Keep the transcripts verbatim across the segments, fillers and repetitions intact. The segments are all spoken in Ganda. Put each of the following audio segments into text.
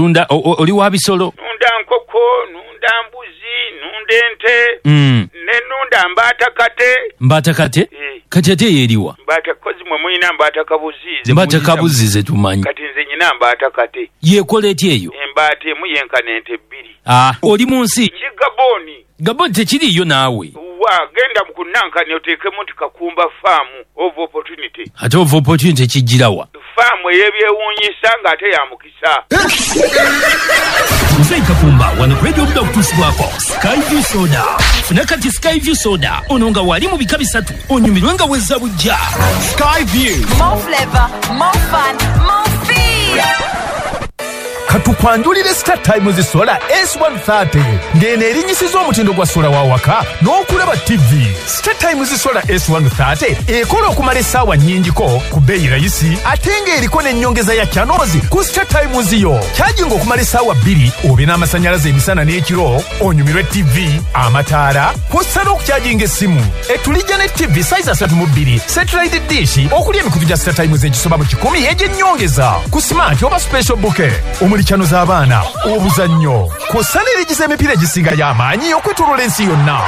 Olunda oli wa bisolo? Nunda nkoko, nunda mbuzi, nunda ente. Mm. Ne nunda mbaata kate. Mbaata kate? E. Kati ate yeriwa? Mbaata kozi mwe mulina mbaata kabuzi. Mbaata kabuzi ze tumanyi. Kati nze nyina mbaata kate. Yekola etya eyo? Embaata emu yenkana ente bbiri. Ah, oli mu nsi? Ki Gaboni. Gaboni tekiriiyo naawe. Wa genda mu kunankani oteekemu nti Kakumba Farm of Opportunity. Ate of Opportunity kijjirawa? Faamu ey'ebyewuunyisa ng'ate ya mukisa. Muzeeyi Kakumba wano ku Radio Buda okutuusibwako Skyview Soda. Funa kati Skyview Soda ono nga wali mu bika bisatu onyumirwe nga wezza bujja. Skyview. More flavor, more fun, more feel. Katukwanjulire Star Times Solar S one thirty ng'eno erinnyisiza omutindo gwa sola wa waka n'okulaba T V. Star Times Solar S one thirty ekola okumala essaawa nnyingiko ku bbeeyi rayisi ate ng'eriko n'ennyongeza ya channels ku Star Times yo. Kyajinga okumala essaawa bbiri obe n'amasannyalaze emisana n'ekiro onyumirwe T V, amataala kw'ossa n'okukyajinga essimu. Etulijja ne T V size asatu mu bbiri, satellite dish okuli emikutu gya Star Times egisoba mu kikumi egy'ennyongeza ku smart oba special bouquet omuli chano z'abaana, obuzannyo kw'ossa n'erigiza emipiira egisinga y'amaanyi okwetooloola ensi yonna.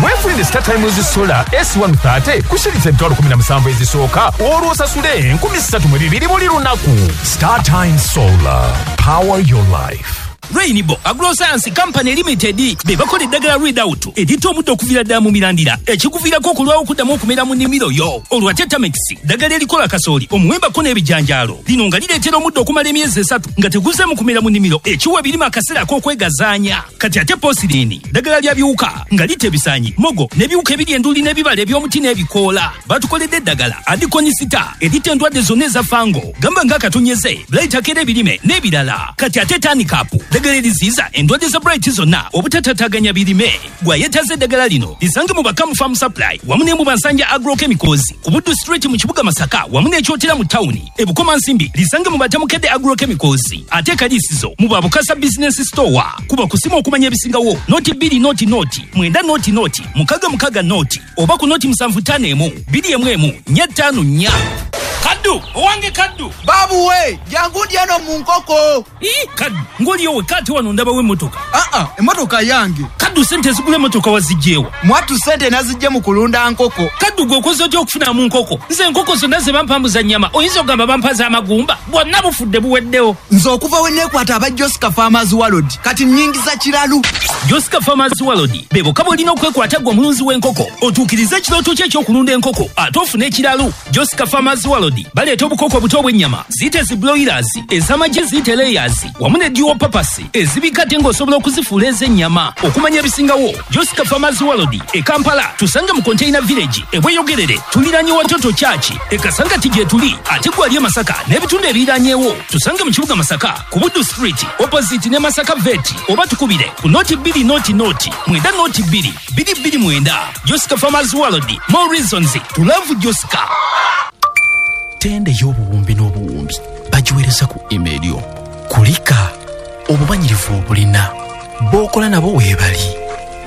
Weefunire Star Times Solar S one thirty ku shilingi emitwalo kumi na musanvu ezisooka olwo osasule enkumi ssatu mu bibiri buli lunaku. Star Times Solar, power your life. Rainbow Agroscience Company Limited be bakola eddagala Readout erita omuddo okuviira ddala mu mirandira ekikuviirako okulwawo okuddamu okumera mu nnimiro yo. Olwo ate Tamex ddagala erikola kasooli, omuwembako n'ebijanjaalo. Lino nga lireetera omuddo okumala emyezi esatu nga teguzeemu kumera mu nnimiro ekiwa ebirime akaseera ak'okwegazaanya. Kati ate Posirini ddagala lya biwuka nga litta ebisaanyi, mogo n'ebiwuka ebiri enduli n'ebibala eby'omuti n'ebikoola. Batukoledde eddagala Adikonisita erita endwadde zonna eza fango gamba ng'akatonyeze, blight akera ebirime n'ebirala. Kati ate Tanikapu ddagala eriziyiza endwadde za blight zonna obutatataganya birime. Gwayetaze eddagala lino lisange mu Bakamu Farm Supply wamu ne mu Bansanja Agrochemicals ku Buddu Street mu kibuga Masaka wamu n'Ekyotera mu tawuni. E Bukomansimbi lisange mu Batamukedde Agrochemicals ate Kalisizo mu Babukasa Business Store. Kuba kusimu okumanya ebisingawo noti bbiri noti noti mwenda noti noti mukaga mukaga noti oba ku noti musanvu ttaano emu bbiri emu emu nnya ttaano nnya. Kaddu, owange Kaddu. Babu we, jangu dyano mu nkoko. Ii, Kaddu, ng'oliyo wekka ate wano ndabawo emmotoka. Aa, emmotoka yange. Kaddu ssente ezigula emmotoka waziggyewa? Mwattu ssente naziggye mu kulunda nkoko. Kaddu gwe okoze otya okufunamu nkoko? Nze enkoko zonna ze bampambuza nnyama, oyinza okugamba bampa z'amagumba? Bwonna bufudde buweddewo. Nze okuva we neekwata aba Josca Farmers World, kati nnyingiza kiralu. Josca Farmers World, be bokka bw'olina okwekwata ggwe omulunzi w'enkoko, otuukirize ekirooto kyo eky'okulunda enkoko ate ofune ekiralu. Josca Farmers World baleeta obukoko obuto obw'ennyama, ziyite zi broilers, ez'amagi ziyite layers, wamu ne dual purpose ezibika ate ng'osobola okuzifuula ez'ennyama. Okumanya ebisingawo, Josca Farmers World e Kampala tusange mu Container Village e Bweyogerere tuliraanye Watoto Church e Kasangati gye tuli ate gwali e Masaka n'ebitundu ebiriranyeewo tusange mu kibuga Masaka ku Buddu Street opposite ne Masaka Vet oba tukubire ku noti bbiri noti noti mwenda noti bbiri bbiri bbiri mwenda. Josca Farmers World, more reasons to love Josca. Tende y'obuwumbi n'obuwumbi bagiweereza ku email yo. Kulika obumanyirivu obulina b'okola nabo weebali.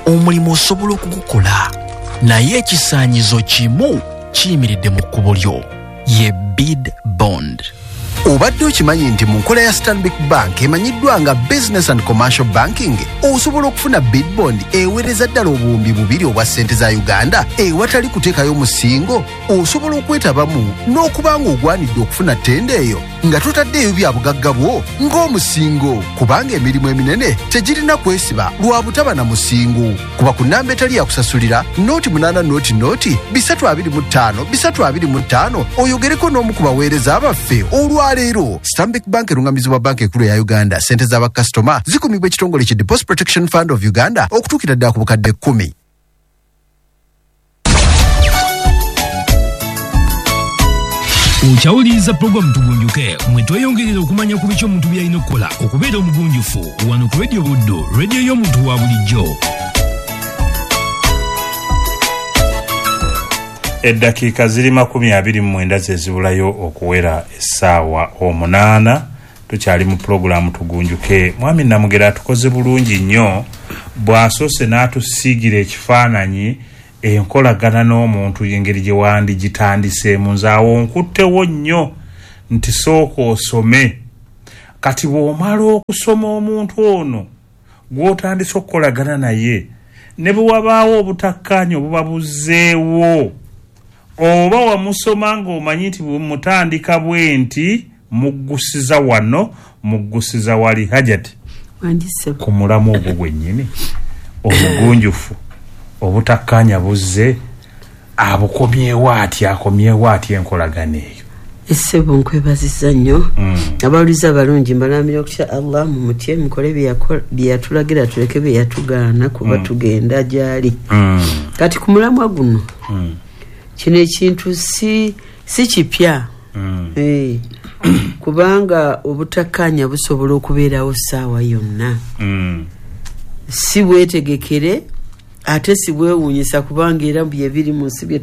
Omulimu osobola okugukola naye ekisaanyizo kimu kiyimiridde mu kkubo lyo ye bid bond. Obadde okimanyi nti mu nkola ya Stanbic Bank emanyiddwa nga Business and Commercial Banking osobola okufuna bid bond eweereza ddala obuwumbi bubiri obwa ssente za Uganda ewatali kuteekayo musingo. Osobola okwetabamu n'okuba ng'ogwanidde okufuna ttenda eyo nga totaddeeyo bya bugagga bwo ng'omusingo, kubanga emirimu eminene tegirina kwesiba lwa butaba na musingo. Kuba ku nnamba etali yakusasulira noti munaana noti noti bisatu abiri mu ttaano bisatu abiri mu ttaano oyogereko n'omu ku baweereza abaffe olwaleero. Stanbic Bank erungamizibwa Banka Enkulu ya Uganda. Ssente z'abakasitoma zikumibwa ekitongole ki Deposit Protection Fund of Uganda okutuukira ddala ku bukadde kkumi. Okyawuliriza pulogulaamu Tugunjuke mwe tweyongerera okumanya ku biki omuntu by'alina okukola okubeera omugunjufu wano ku Radio Buddu, radio y'omuntu wa bulijjo. Eddakiika ziri makumi abiri mu mwenda ze zibulayo okuwera essaawa omunaana. Tukyali mu pulogulaamu Tugunjuke. Mwami Namugera atukoze bulungi nnyo bw'asoose n'atusiigira ekifaananyi enkolagana n'omuntu engeri gye wandigitandiseemu. Nze awo nkuttewo nnyo nti sooka osome Kati bw'omala okusoma omuntu ono gw'otandise okukolagana naye, ne bwe wabaawo obutakkaanya obuba buzzeewo, oba wamusoma ng'omanyi nti bwe mutandika bwe nti muggusiza wano, muggusiza wali. Hajati, ku mulamu ogwo gwennyini obugunjufu, obutakkaanya buzze, abukomyewo atya, akomyewo atya enkolagana eyo? Essebo, nkwebazizza nnyo. Abawuliza abalungi, mbalamira okutya Allah, mumutye, mukole bye yatulagira, tuleke bye yatugaana, kuba tugenda gyali. Kati ku mulamwa guno, kino ekintu si si kipya, Eh, kubanga obutakkaanya busobola okubeerawo ssaawa yonna, si bwetegekere ate si bwewuunyisa, kubanga era bye biri mu nsi bye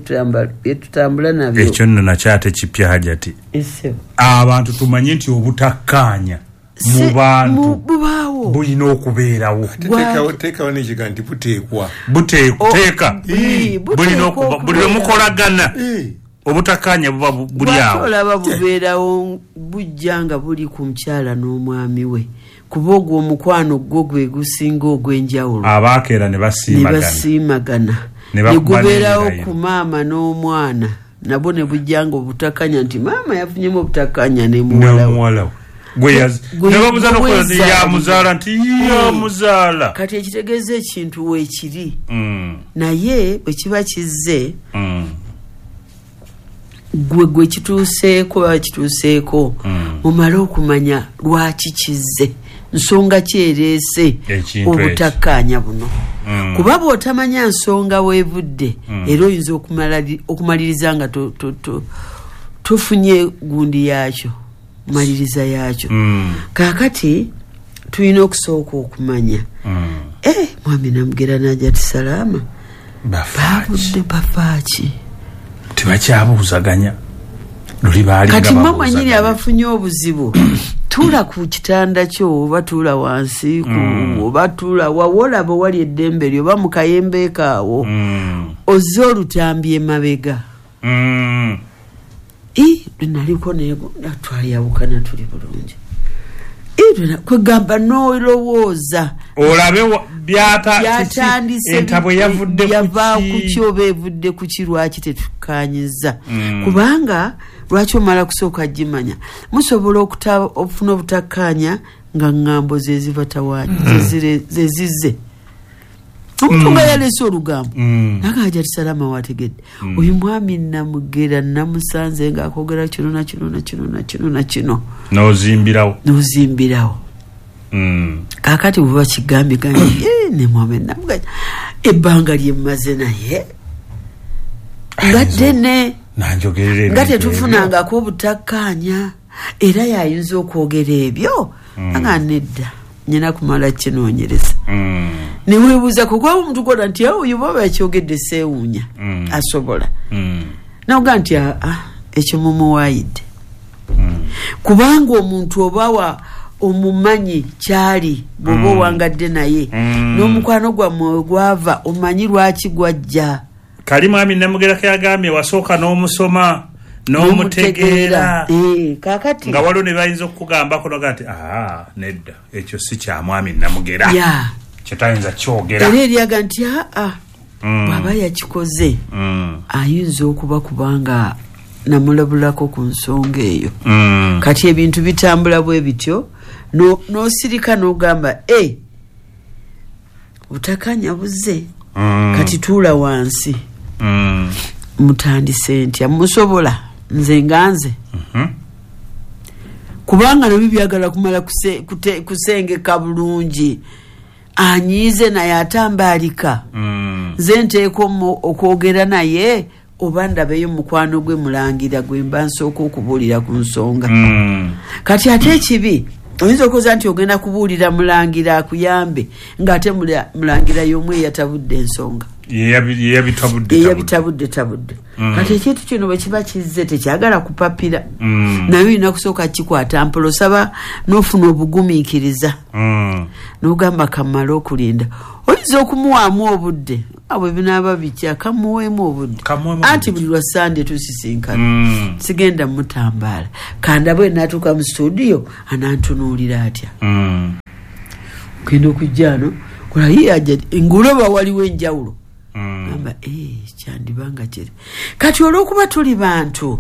tutambula nabyo. Ekyo nno nakyo ate kipya, Hajati. Essebo. Abantu tumanye nti obutakkaanya mu bantu bubaawo, bulina okubeerawo. Teekawo n'ekiga nti buteekwa. Buteeka bulina okuba buli lwemukolagana, obutakkaanya buba buli awo. Olaba bubeerawo, bujja nga buli ku mukyala n'omwami we, kuba ogwo omukwano gwo gwe gusinga ogw'enjawulo. Abaakeera ne basiimagana, basiimagana, ne gubeerawo ku maama n'omwana, nabwo ne bujja nga obutakkaanya nti maama yafunyemu obutakkaanya ne muwala we, ne babuza n'okukola yamuzaala nti yamuzaala. Kati ekitegeeza ekintu weekiri, naye bwe kiba kizze, gwe gwe kituuseeko baba kituuseeko, mumale okumanya lwaki kizze, nsonga kyereese obutakkaanya buno, kuba bw'otamanya nsonga weevudde, era oyinza okumaliriza nga tofunye gundi yaakyo, maliriza yaakyo. Kaakati tulina okusooka okumanya, eh mwami Namugera n'Hajati Salaama babudde bafaaki? Tebakyabuuzaganya luli baali. Kati mwe mwennyini abafunye obuzibu, tuula ku kitanda kyo, oba tuula wansi, oba tuula wawolaba wali eddembe lyo, oba mu kayembe kaawo, ozze olutambi emabega. I lwenaliko twayawukana tuli bulungi, kwegamba n'olowooza olabe byatandise, entabwe yavudde yava ku ki oba evudde ku ki, lwaki tetukkanyiza? Kubanga lwaki omala kusooka gimanya, musobola okufuna obutakkaanya nga ŋŋambo ze zibatawaanya, ze zizze. Omuntu nga yaleese olugambo naga, Hajati Salama wategedde, oyu mwami Namugera namusanze ng'akwogera kino na kino na kino na kino na kino. N'ozimbirawo. N'ozimbirawo. Kaakati bwe bakigambye gambye ne mwami Namugera, ebbanga lye mmaze naye nga ddene, nga tetufunangako obutakkaanya, era yayinza okwogera ebyo? Nga nedda, nyina kumala kinoonyereza. Neweebuuza kukuba omuntu gwola nti oyo baba yakyogedde seewuunya, asobola noga nti aa ekyo mumuwaayidde, kubanga omuntu obawa omumanyi kyali bw'oba owangadde naye n'omukwano gwammwe gwava, omanyi lwaki gwajja. Kali mwami Namugera yagambye wasooka n'omusoma n'omutegeera, kakati nga waliwo ne bayinza okukugambako noga nti aa nedda, ekyo si kya mwami Namugera, kyetayinza kyogera. Era eryaga nti aa bw'aba yakikoze ayinza okuba kubanga namulabulako ku nsonga eyo. Kati ebintu bitambula bwe bityo, n'osirika n'ogamba e butakanya buzze, kati tuula wansi, mutandise ntya, musobola nze nga nze, kubanga nabyo byagala kumala kusengeka bulungi, anyiize naye atambaalika, nze nteeka okwogera naye oba ndabeyo mukwano gwe mulangira gwe mba nsooka okubuulira ku nsonga. Kati ate ekibi, oyinza okukoza nti ogenda kubuulira mulangira akuyambe, ng'ate mulangira y'omu eyatabudde ensonga. Yeyabitabudde tabudde. Kati ekintu kino bwe kiba kizze tekyagala kupapira. Naye olina kusooka kikwata mpola, osaba n'ofuna obugumiikiriza. N'ogamba kamale okulinda. Oyinza okumuwaamu obudde, abo binaaba bitya, kamuweemu obudde. Anti buli lwa Sande tusisinkana. Sigenda mutambaala. Kanda bwe natuuka mu studio anantunuulira atya. Ogenda okujja ano, kola ye ajja nguloba waliwo enjawulo. Gamba eh kyandibanga kiri. Kati olw'okuba tuli bantu,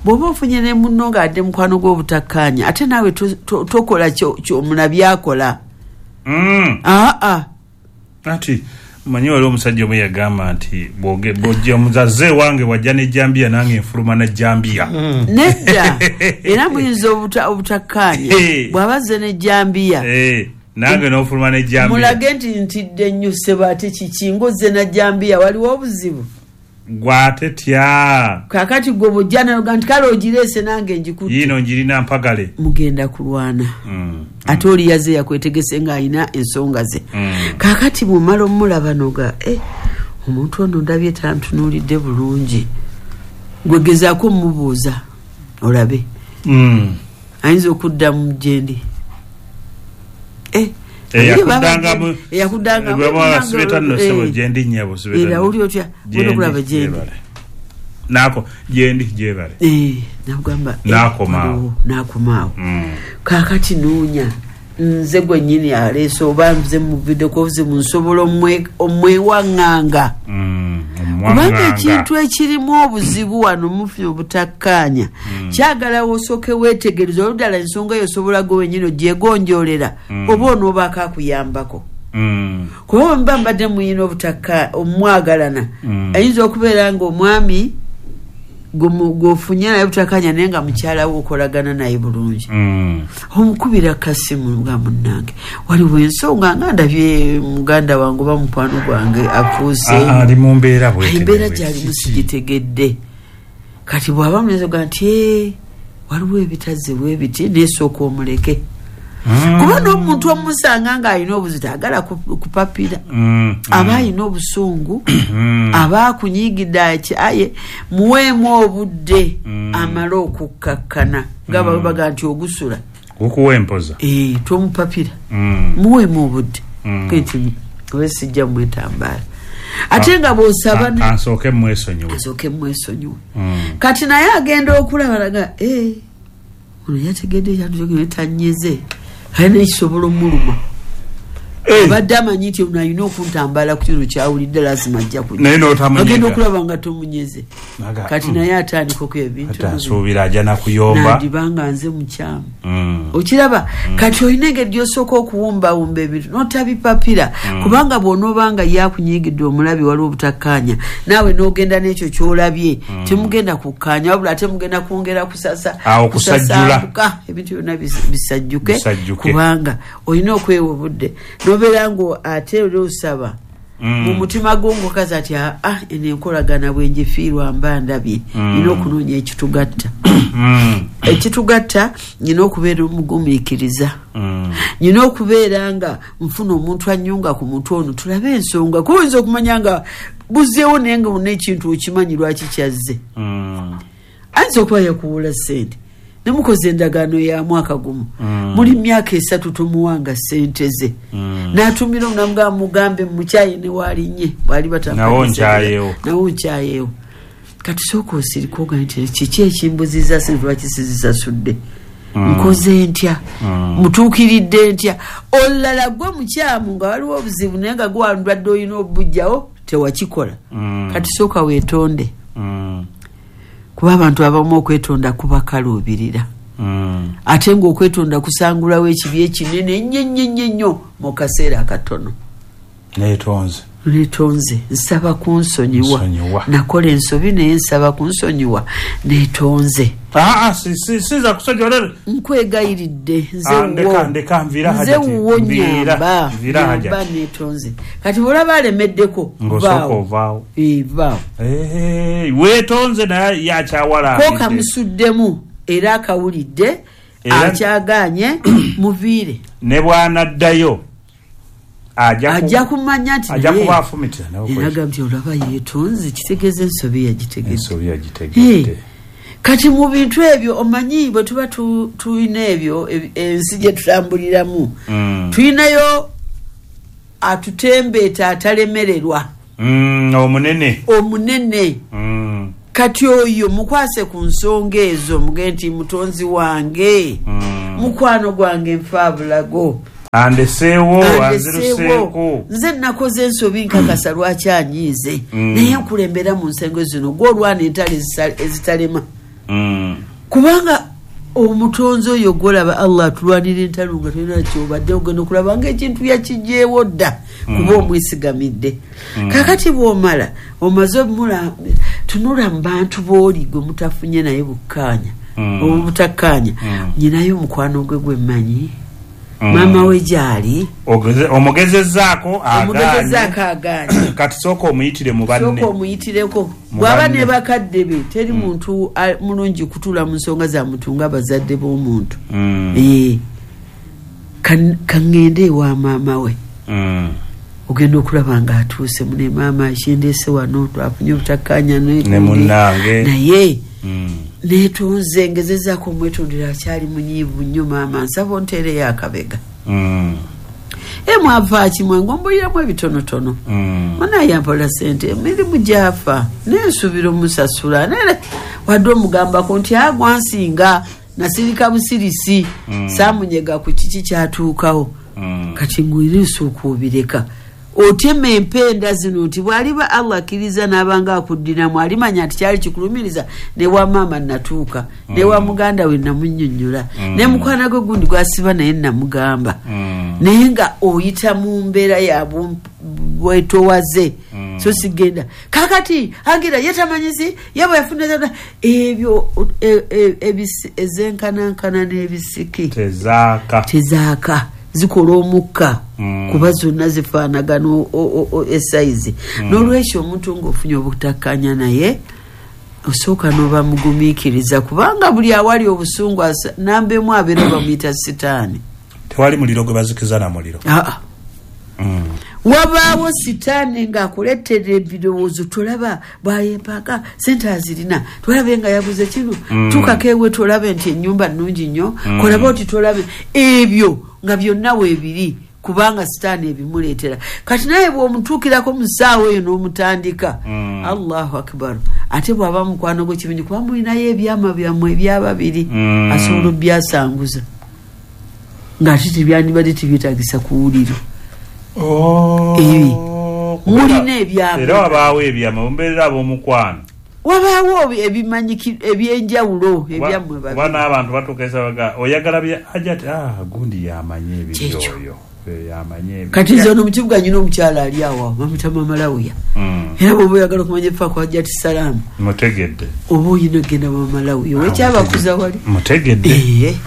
bw'oba ofunye ne munno ng'adde mukwano gw'obutakkaanya, ate naawe tokola ky'omuna byakola. Aa aa. Ati manyi waliwo omusajja omu yagamba nti bw'ojja omuzazze wange wajja n'ejjambiya nange nfuluma na jjambiya. Nedda, era muyinza obutakkaanya bw'aba azze n'ejjambiya. Nange n'ofuluma n'ejjambiya. Mulage nti ntidde nnyo ssebo, ate kiki ng'ozze na jjambiya, waliwo obuzibu. Gw'ate tya. Kaakati gwe bw'ojja n'oga nti kale ogireese nange ngikutte. Yiino ngirina mpagale. Mugenda kulwana. Ate oli yazze yakwetegese ng'alina ensonga ze. Kaakati bw'omala omulaba n'oga, eh, omuntu ono ndabye tantunuulidde bulungi. Gwe gezaako mmubuuza olabe. Ayinza okuddamu gye ndi. Eh, eyakuddangamu eyakuddangamu sibeta ssebo gye ndi nnyabo sibeta. Era oli otya genda okulaba gye ndi. Nako gye ndi gyebale. Eh, nakugamba n'akomaawo. N'akomaawo. Kaakati noonya nze gwe nnyini aleese oba nze muviddeko obuzibu nsobola omwewaŋŋanga. Kubanga ekintu ekirimu obuzibu wano mufunye obutakkaanya, kyagala osooke weetegereze oluddala ensonga eyo osobola gwe wennyini ogyegonjoolera oba onoobaako akuyambako. Kuba bwe muba mbadde muyina obutakka omwagalana, ayinza okubeera ng'omwami gw'ofunye naye obutakkaanya naye nga mukyala we okolagana naye bulungi. Omukubira kasimu nga munnange, waliwo ensonga nga ndabye muganda wange oba mukwano gwange afuuse. Ali mu mbeera bw'eti. Embeera gy'alimu sigitegedde. Kati bw'aba munenze oga nti waliwo ebitazze bw'ebiti neesooka omuleke. Kuba n'omuntu omusanga ng'alina obuzibu agala kupapira, aba alina obusungu, aba akunyiigidde aye muweemu obudde amale okukkakkana. Nga baga nti ogusula gukuwa empoza. Eh, tomupapira. Muweemu obudde. Nti we sijja mwetambaala. Ate nga bw'osaba asooke mwesonyiwe. Asooke mwesonyiwe. Kati naye agenda okulaba laga eh ono yategedde ekyatukyogera tanyeze. Alina ekisobola omuluma. Abadde amanyi nti ono alina okuntambala ku kino kyawulidde lazima ajja kujja. Naye n'otamunyega. Agenda okulaba nga tomunyeze. Kati naye atandika okuya ebintu. Asuubira ajja nakuyomba. Nandibanga nze mukyamu. Okiraba kati olina engeri gy'osooka okuwumbawumba ebintu n'otabipapira. Kubanga bw'onoobanga yakunyiigidde omulabi waliwo obutakkaanya, naawe n'ogenda n'ekyo ky'olabye, temugenda kukkaanya wabula ate mugenda kwongera kusasa. Awo kusajjula. Ebintu byonna bisajjuke kubanga olina okwewa obudde. Nobeera ng'ate oli osaba mu mutima gwo ng'okazi ati ah eno enkolagana bwe ngifiirwa mba ndabye, nina okunoonya ekitugatta. Ekitugatta nina okubeera omugumiikiriza, nina okubeera nga nfuna omuntu annyunga ku muntu ono tulabe ensonga, kuba oyinza okumanya nga buzzeewo naye nga olina ekintu okimanyi lwaki kyazze. Ayinza okuba yakuwola ssente nemukoze endagaano ya mwaka gumu, muli myaka esatu tomuwanga ssente ze, n'atumira omunamugamba mugambe mukyaye ne waalinye bwali nawo nkyayeewo nawo nkyayeewo. Kati sooka osirike ogambe nti kiki ekimbuziza ssente lwaki sizisasudde, nkoze ntya, mutuukiridde ntya. Olulala gwe mukyamu nga waliwo obuzibu naye nga gwe wandwadde olina obujjawo tewakikola. Kati sooka weetonde. Kuba abantu abamu okwetonda kubakaluubirira. Ate ng'okwetonda kusangulawo ekibi ekinene ennyo ennyo ennyo nnyo mu kaseera akatono. Neetonze. Neetonze. Nsaba kunsonyiwa. Nakola ensobi naye nsaba kunsonyiwa. Neetonze. Ah, si si siza kusonyiwa leero. Nkwegayiridde nze wuwo. Ndeka nviira hajati. Nze wuwo nnyamba. Nnyamba neetonze. Kati bw'olaba alemeddeko ng'osooka ovaawo. Eh, vaawo. Eh, weetonze naye yakyawala. Ko kamusuddemu era akawulidde akyagaanye muviire. Ne bw'anaddayo Ajja kumanya nti ajja kuba afumitira nawe. Era nti olaba yeetonze, kitegeeza ensobi yagitegedde. Ensobi yagitegedde. Kati mu bintu ebyo omanyi bwe tuba tulina ebyo ensi gye tutambuliramu, tulinayo atutembeeta atalemererwa. Omunene. Omunene. Kati oyo mukwase ku nsonga ezo, mugende nti mutonzi wange, mukwano gwange nfaabulago. Andeseewo, anziruseeko. Nze nakoze ensobi nkakasa lwaki anyiize. Naye nkulembera mu nsengo zino gw'olwana entalo ezitalema. Kubanga omutonzi oyo gw'olaba Allah atulwanira entalo nga tolina ky'obadde ogenda okulaba ng'ekintu yakiggyeewo dda kuba omwesigamidde. Kaakati bw'omala omaze tunula mu bantu b'oli gwe mutafunye naye bukkaanya oba butakkaanya, nyinayo omukwano gwe gwe mmanyi. Mama we gyali omugezezzaako agaanye. Kati sooka omuyitire mu banne. Sooka omuyitireko bw'aba ne bakadde be, teri muntu mulungi kutuula mu nsonga za muntu nga bazadde b'omuntu. Kaŋŋende ewa maama we. Ogenda okulaba ng'atuuse mune, maama kindeese wano twafunye obutakkaanya ne munnange naye neetonze, ngezezzaako omwetondera akyali munyiivu nnyo maama, nsaba onteereyo akabega. E mwava ki mwe ng'ombuliramu ebitonotono. Munaayampola ssente emirimu gy'afa nensuubira omusasula, naye wadde omugambako nti agwa nsinga nasirika busirisi, saamunyega ku kiki kyatuukawo. Kati ngwiriisa okuubireka otema empenda zino nti bw'aliba Allah akkiriza n'abanga akuddiramu alimanya nti kyali kikulumiriza ne wa maama natuuka, ne wa muganda we namunnyonnyola, ne mukwano gwe gundi gwasiba naye namugamba. Naye nga oyita mu mbeera ya bwetowaze, so sigenda kakati angira yetamanyizi yaba yafuna ebyo ezenkanankana n'ebisiki tezaaka tezaaka zikola omukka kuba zonna zifaanagana esayizi. N'olwekyo omuntu ng'ofunye obutakkaanya naye osooka n'oba mugumiikiriza, kubanga buli awali obusungu nambemu abeera bamuyita sitaani. Tewali muliro gwe bazikiza na muliro. Aa. Wabaawo sitaani ng'akuleetera ebirowoozo, tolaba bwayepaka sente azirina, tolabe nga yaguze kino, tuukako ewe tolabe nti ennyumba nnungi nnyo, kolaba oti tolabe ebyo nga byonna weebiri, kubanga sitaani ebimuleetera. Kati naye bw'omutuukirako mu ssaawa eyo n'omutandika, Allahu akbar, ate bw'aba mukwano gwe kiminyi kuba mulinayo ebyama byammwe ebyababiri, asobola obyasanguza ng'ate tebyandibadde tebyetaagisa kuwulira. Mulina ebyama era wabaawo ebyama mumbeerera ab'omukwano, wabaawo ebimanyiki ebyenjawulo ebyammwe babiri. Kuba n'abantu batuuka baga oyagala bya Hajati, ah gundi yamanyi ebibyo oyo yamanyi ebyo. Kati nze ono mu kibuga nyina omukyala ali awo bamuyita Mama Lawuya, era bw'oba oyagala okumanya ebifa ku Hajati Salaamu mutegedde, oba oyina okgenda Mama Lawuya wekyabakuza wali mutegedde.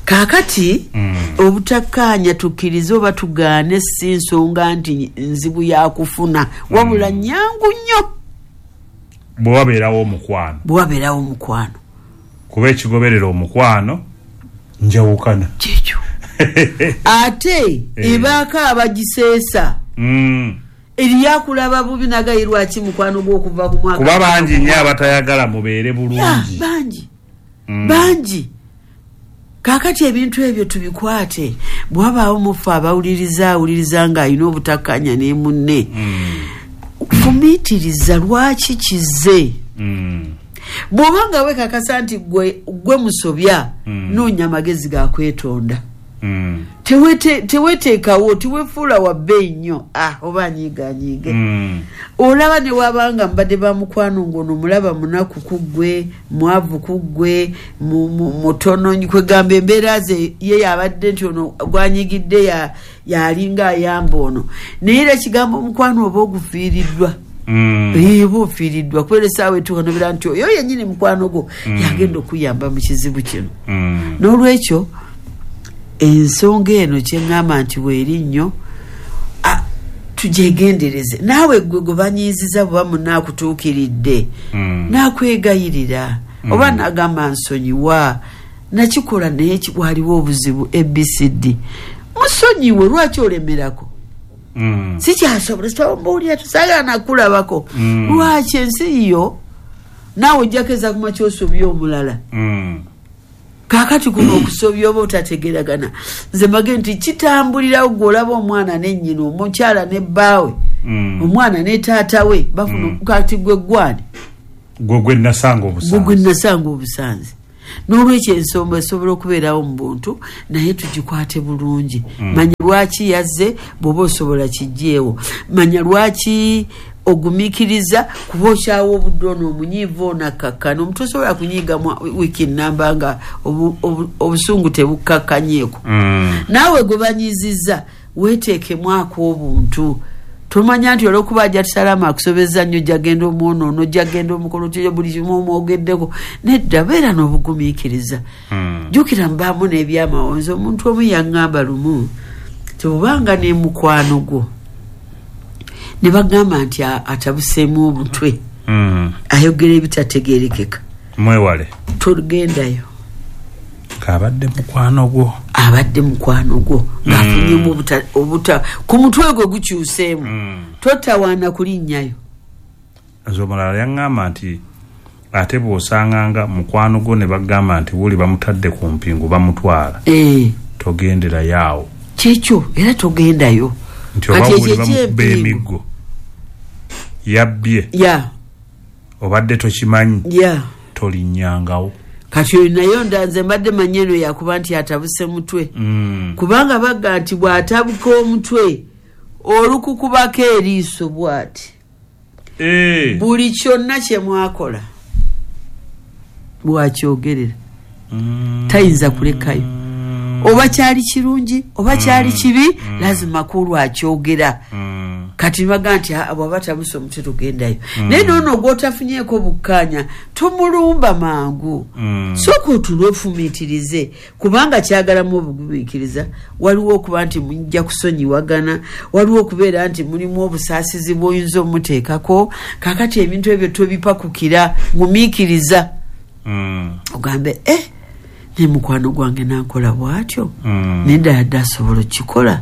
Kaakati obutakkaanya tukkirize oba tugaane si nsonga nti nzibu yakufuna, wabula nnyangu nnyo bwe wabeerawo omukwano. Bwe wabeerawo omukwano, kuba ekigoberera omukwano njawukana kyekyo. Ate ebaako abagiseesa eriyo akulaba bubi nagaye lwaki mukwano gw'okuva ku mwaka, kuba bangi nnyo abatayagala mubeere bulungi, bangi bangi. Kaakati ebintu ebyo tubikwate. Bw'abaawo mufe abawuliriza awuliriza ng'alina obutakkaanya ne munne, fumiitiriza lwaki kize. Bw'oba nga weekakasa nti gwe gwe musobya, noonya amagezi ga kwetonda. Teweteekawo, teweefuula wa bbeeyi nnyo, ah oba anyiiganyiige. Olaba ne wabanga mbadde ba mukwano ng'ono mulaba munaku ku ggwe, mwavu ku ggwe, mutono, kwegamba embeera ze ye yabadde nti ono gwanyigidde yalinga ayamba ono, naye era ekigambo omukwano oba ogufiiriddwa, oba ofiiriddwa kubeera essaawa etuuka nobeera nti oyo yennyini mukwano gwo yagenda okuyamba mu kizibu kino. N'olwekyo ensonga eno kyeŋŋamba nti weeri nnyo, tugyegendereze. Naawe gwe gwe banyiiziza bw'oba munaakutuukiridde, naakwegayirira oba naagamba nsonyiwa, nakikola naye waliwo obuzibu A B C D, musonyiwe. Lwaki olemerako? Mm. Sikyasobola sitawambuulira tusaagala nakulabako. Mm. Lwaki ensi yo naawe ojjakeza kuma kyosobya omulala. Mm. Kaakati kuno okusobya oba otategeeragana. Nze mbage nti kitambulirawo gw'olaba omwana ne nnyina, omukyala ne bbaawe, mm. omwana ne taata we bafuna mm. kati gwe gwani gwe gwe nasanga obusanzi, gwe gwe nasanga obusanzi. N'olwekyo ensonga esobola okubeerawo mu buntu naye tugikwate bulungi. Mm. Manya lwaki yazze bw'oba osobola kiggyeewo, manya lwaki ogumiikiriza kuba okyawa obudde ono omunyiivu ono akkakkana. Omuntu osobola kunyiigamu wiiki nnamba nga obusungu tebukkakkanyeeko. Mm. Naawe gwe banyiizizza weeteekemu ak'obuntu. Tomanya nti olw'okuba ajja tusalama akusobezza nnyo ojja genda omwonoono, ojja genda omukolo otyo buli kimu omwogeddeko. Nedda, beera n'obugumiikiriza. Mm. Jjukira mbaamu n'ebyamawonzi. Omuntu omu yaŋŋamba lumu nti obanga ne mukwano gwo ne bagamba nti atabuseemu obutwe, mm. ayogera ebitategeerekeka, mwewale, togendayo. Kabadde mukwano gwo, abadde mukwano gwo ng'afunyemu obuta, obuta ku mutwe gwe gukyuseemu. Mm. Totawaana kulinnyayo. Nze omulala yaŋŋamba nti ate bw'osanganga mukwano gwo ne bagamba nti wuli bamutadde ku mpingu bamutwala, eh. togenderayo awo. Kyekyo era togendayo. Nti oba wuli bamukuba emiggo yabbye, ya obadde tokimanyi, ya tolinnyangawo. Kati oyo nayo ndanze mbadde manyi eno yakuba nti atabuse mutwe. Mm. Kubanga bagga nti bw'atabuka omutwe olukukubako eriiso bw'ati, e. buli kyonna kye mwakola bw'akyogerera. Mm. Tayinza kulekayo. Oba kyali kirungi oba kyali kibi, mm. lazima kulwa akyogera. Mm. Kati baga nti bw'aba tabuse omutwe togendayo. Mm. Naye noono gw'otafunyeeko bukkaanya tomulumba mangu. Mm. Sooka otuule ofumiitirize, kubanga kyagalamu obugumiikiriza. Waliwo okuba nti mujja kusonyiwagana, waliwo okubeera nti mulimu obusaasizi bw'oyinza omuteekako. Kaakati ebintu ebyo tobipakukira, gumiikiriza. Mm. Ogambe eh ne mukwano gwange nankola bw'atyo, mm. nedda yadde asobola okukikola,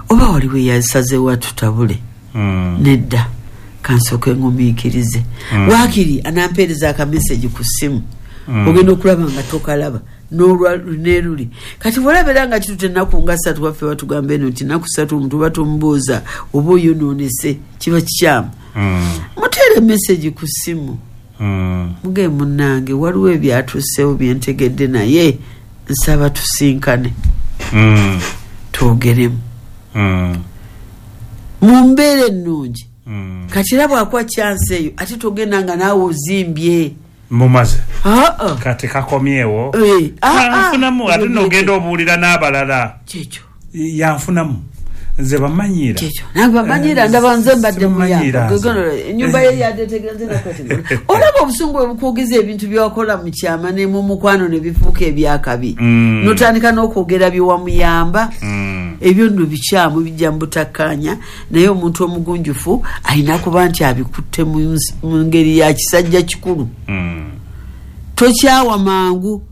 oba waliwo eyasazeewo atutabule. Mm. Nedda, kansooke ngumiikirize. Mm. Waakiri anampeereza akameseji ku ssimu, mm. ogenda okulaba nga tokalaba n'olwa neruli. Kati bw'olaba nga kitute ennaku nga ssatu, waffe batugamba eno nti nnaku ssatu omuntu oba tomubuuza oba oyonoonese, kiba kikyamu. Mm. Muteere meseji ku ssimu. Mm. Muge munnange waliwo ebyatuuseewo byentegedde naye nsaba tusinkane. Mm. Twogeremu. Mm. Mu mbeera ennungi. Mm. Kati era bw'akuwa chance eyo ate togenda nga naawe ozimbye. Mumaze. Aa. Kati kakomyewo. Eh, Yanfunamu ate n'ogenda obuulira n'abalala. Kyekyo. Yanfunamu. Nze bamanyiira. Kyekyo. Nange bamanyiira ndaba nze mbadde muyamba. Ennyumba ye yadetegera nze nakwate. Olaba obusungu bwe bukwogeza ebintu by'okola mu kyama ne mu mukwano ne bifuuka ebyakabi. Mm. N'otandika n'okwogera bye wamuyamba. Mm. Ebyo nno bikyamu bijja mu butakkaanya, naye omuntu omugunjufu alina kuba nti abikutte mu ngeri ya kisajja kikulu. Mm. Tokyawa mangu.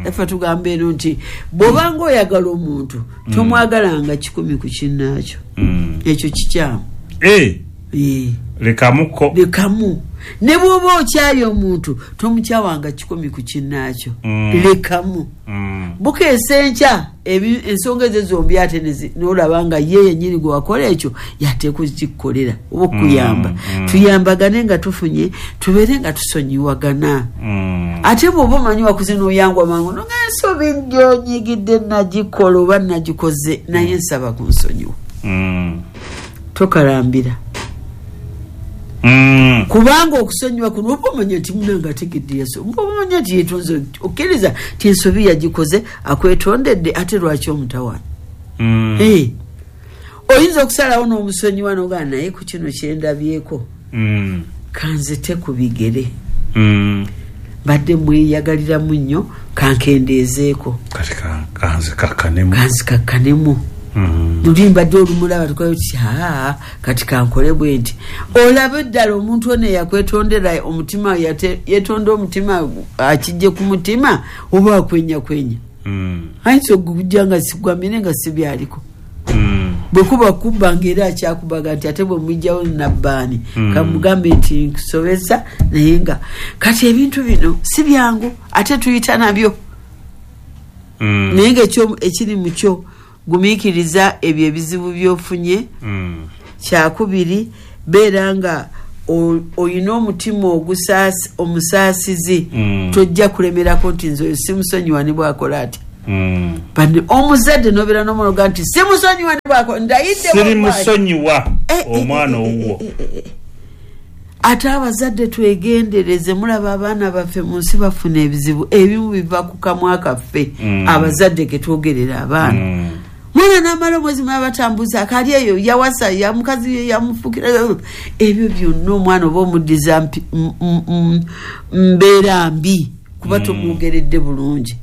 Effe tugamba eno nti bw'obanga oyagala omuntu tomwagalanga kikumi ku kinnaakyo. Mm. Ekyo kikyamu. Eh. Eh. Lekamuko. Lekamu. Ne bw'oba okyaye omuntu tomukyawanga kikumi ku kinnaakyo. Mm. Lekamu. Mm. Bukeesa enkya ensonga ezo zombi ate n'olaba nga ye yennyini gwe wakola ekyo yateeka okukikukolera oba okuyamba. Mm. Tuyambagane nga tufunye, tubeere nga tusonyiwagana. Mm. Ate bw'oba omanyi wakuze n'oyangwa mangu nonga ensobi gy'onyigidde nagikola oba nagikoze naye nsaba kunsonyiwa. Mm. Tokalambira. Mm. Kubanga okusonyiwa kuno oba omanya nti munange ategedde yaso, oba omanya nti yeetonze, okkiriza nti ensobi yagikoze akwetondedde, ate lwaki omutawaana? Mm. Eh. Oyinza okusalawo n'omusonyiwa n'ogamba naye ku kino kye ndabyeko, Mm. kanzite ku bigere. Mm. Mbadde mweyagaliramu nnyo, kankendeezeeko. Kati kanzikakkanemu. Kanzikakkanemu. Mm. Luli mbadde olumulaba tukola tuti aa kati kankole bwe nti. Olabe ddala omuntu ono eyakwetondera omutima, yeetonda omutima akijje ku mutima oba akwenya kwenya. Mm. Ayinza okujja nga sigwamire nga si byaliko. Mm. Bwe kuba kubba ng'era akyakubaga nti ate bwe mujjawo nabbaani Mm. kamugambe nti nkusobeza, naye nga kati ebintu bino si byangu ate tuyita nabyo. Mm. Naye nga ekyo ekiri mu kyo gumiikiriza ebyo ebizibu by'ofunye. Mm. Kyakubiri, beera nga o- oyina omutima ogusaasi omusaasizi. Mm. Tojja kulemerako nti nze oyo simusonyiwa ne bwakola atya. Mm. Bane omuzadde n'obeera n'omwana nti simusonyiwa ne bwakola ndayidde Siri bw'akwata. musonyiwa Eh, eh, omwana eh, eh, owuwo. eh, eh, eh. Ate abazadde twegendereze, mulaba abaana baffe mu nsi bafuna ebizibu ebimu biva ku kamwa kaffe. Mm. Abazadde ketwogerera abaana. Mm. Mwana n'amala omwezi mulaba batambuza akali eyo yawasa ya mukazi ye yamufukira ebyo byonna omwana oba omuddiza mpi- m- m- m- mbeera mbi kuba tomwogeredde bulungi.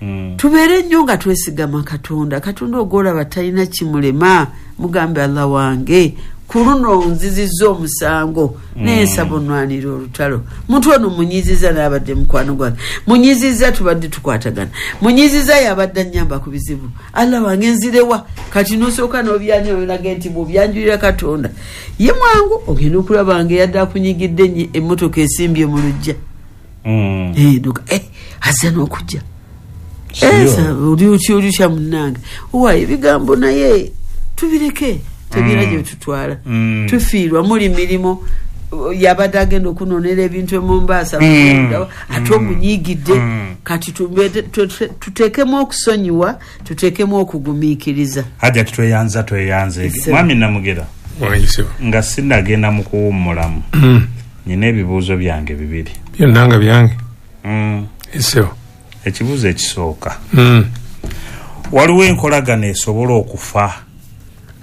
Mm. Tubeere nnyo nga twesigama Katonda. Katonda ogwolaba talina kimulema, mugambe Allah wange ku luno nzizizza omusango naye nsaba onwanira olutalo. Muntu ono munyiziza n'abadde mukwano gwange, munyiziza tubadde tukwatagana, munyiziza yabadde annyamba ku bizibu, Allah wange nzirewa. Kati nosooka n'obyanjulira nti bw'obyanjulira Katonda ye mwangu ogenda okulaba nga eyadde akunyigidde nnyo emmotoka esimbye mu luggya. Mm. Eh, noga, eh, azze n'okujja. Siyo. Oli otya oli otya munnange, owa ebigambo naye tubireke tebirina Mm. gye tutwala. Mm. Tufiirwa muli mirimu yabadde agenda okunonera ebintu e Mombasa Mm. ate omunyigidde. Mm. Kati tumbe- tu- tu- tuteekemu okusonyiwa, tuteekemu okugumiikiriza. Hajja tweyanza tweyanze. Ese. Mwami Namugera, Wayise. nga sinnagenda mu kuwummulamu, Mm. nina ebibuuzo byange bibiri. Byonna nga byange. Mm. Esebo. Ekibuuzo ekisooka, Mm. waliwo enkolagana esobola okufa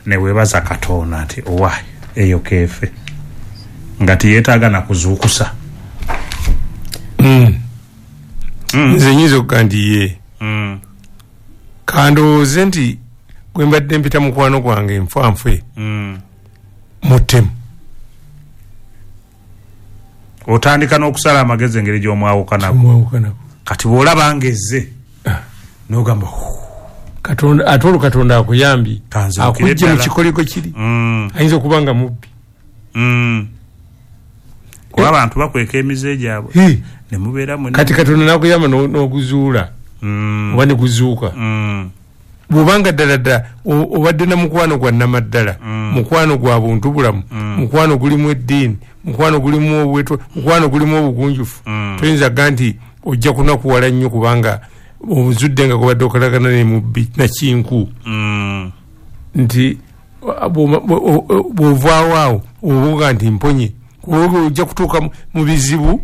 ne weebaza Katonda nti owaayi eyo keefe nga teyeetaaga na kuzuukusa? Mm. Nze nyinza okuga nti ye. Mm. Kandowooze nti gwe mbadde mpita mukwano gwange nfanfe Mm. mutemu. Otandika n'okusala amagezi engeri gy'omwawukanako. Omwawukanako. Kati bw'olaba ng'ezze n'ogamba Katonda ate olwo Katonda akuyambye Kanzibukire akujje mu ddala. kikoligo kiri. Mm. Ayinza okuba nga mubbi. Mm. Kuba abantu bakweka emize gyabwe Hi. ne mubeera mwenna. Kati Katonda n'akuyamba n'o- n'oguzuula Mm. oba ne guzuuka. Mm. Bw'obanga ddala ddala o- obadde na mukwano gwa nnamaddala, Mm. mukwano gwa buntu bulamu, mukwano gulimu eddiini, mukwano gulimu obweto, mukwano gulimu obugunjufu, Mm. toyinza ga nti ojja kunakuwala nnyo kubanga ozudde nga gobadde okolagana ne mubbi nakinku. Mm. Nti bw'oma- bw'o- o- bw'ovaawo awo obuuga nti mponye, kubanga ojja kutuuka mu- mu bizibu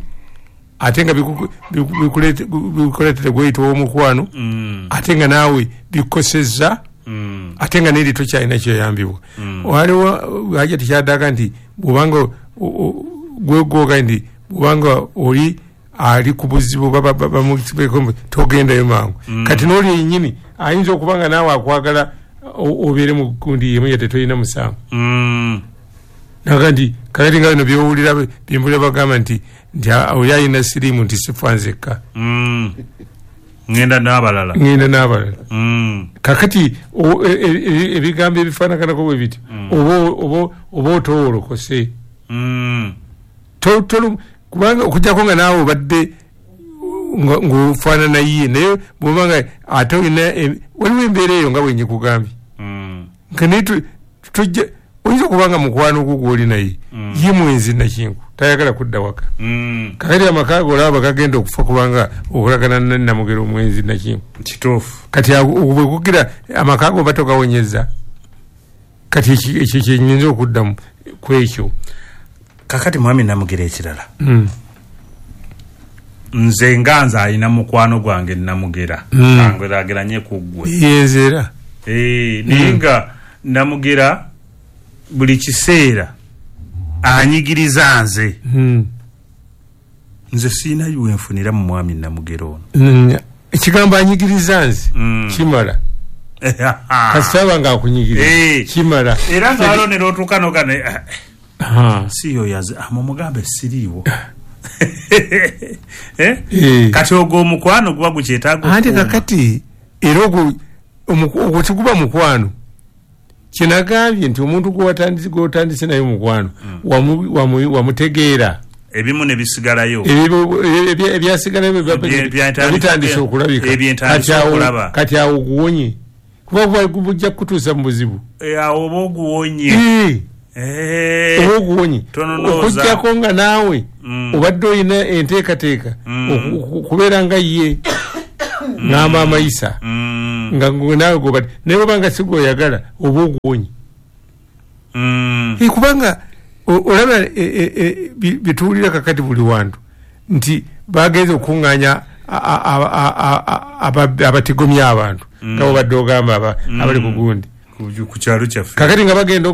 ate nga biku- biku- bikuleete- bikuleetera gweyita ow'omukwano, Mm. ate nga naawe bikosezza, Mm. ate nga neri tokyalina kyoyambibwa. Waliwo haja tekyaddaga nti bwobanga o- o- gwegoga nti bwobanga oli ali ku buzibu ba- ba- ba- bamu- togendayo mangu. Kati n'oli yennyini ayinza okuba nga naawe akwagala o- obeere mu gundi yemu yadde tolina musango. Mm. Naga nti kakati nga bino byowulira byempulira bagamba nti nti a- oli alina siriimu nti sifa nzekka. Mm. Ngenda n'abalala. Ngenda n'abalala. Mm. Kakati o- e- e- e- ebigambo ebifaanaganako bwe biti oba oba oba otowoolokose. Mm. To- tolu- kubanga okuggyako nga naawe obadde nga- ng'ofaanana ye, naye bw'oba nga ate olina e- waliwo embeera eyo nga bwe njikugambye. Mm. Nga naye tu- tujja oyinza okuba nga mukwano gwo gw'oli naye ye mwenzi nakinku tayagala kudda waka. Mm. Kakati amaka go olaba gagenda okufa kubanga okolagana ne Namugera omwenzi nakinku. Kituufu. Kati ago- bwe kugira amaka go oba togawonyeza. Kati eki- ekyo kyenyinza okuddamu ku ekyo. Kakati mwami Namugera ekirala, Mm. nze nga nze alina mukwano gwange Namugera, Mm. kangerageranye ku ggwe. Yenze era. Eh, naye nga Namugera buli kiseera anyigiriza nze. Mm. Nze siina wenfunira mu mwami Namugera ono. Mm. Ekigambo anyigiriza nze Mm. kimala. Kasita aba nga akunyigiriza Eh. kimala. Era nga alonera otuuka nogane Aha. si yo yaze amumugambe siriiwo. Eh? Eh. Kati ogwo omukwano guba gukyetaaga Anti okukuuma. kakati era ogwo omuku- ogwo tiguba mukwano, Kinagambye nti omuntu gw'otandise gw'otandise naye mukwano wamutegeera ebimu ne bisigalayo ebyasigalayo bitandise okulabika kati awo guwonye kuba bujja kutuusa mu buzibu awo oba oguwonye oba oguwonye okuggyako nga naawe obadde olina enteekateeka okubeera nga ye ngamba amayisa nga naawe gobadde naye oba nga si gw'oyagala oba oguwonye kubanga olaba bituwulira kakati buli wantu nti bagenze okuŋŋaanya abatigomya abantu nga bobadde ogamba abali ku gundi ku kyalo kyaffe kakati nga bagenda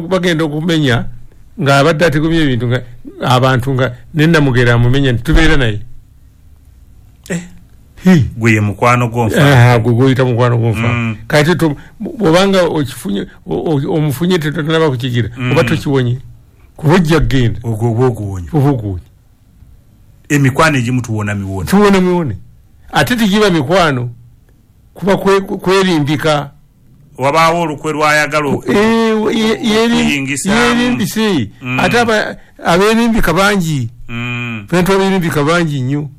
okumenya nga abadde atigomya ebintu abantu nga nenamugera amumenya nti tubeera naye gwe ye mukwano gw'onfa gwe gwoyita mukwano gw'onfa kati bwobanga omufunye tetonaba kukigira oba tokiwonye kuba ojja kugenda ogwo oba oguwonye oba oguwonye emikwano egimu tuwona miwone tuwona miwone ate tegiba mikwano kuba kwerimbika wabaawo olukwe lwayagala okuyingisa yerimbise ate abeerimbika bangi fentu abeerimbika bangi nnyo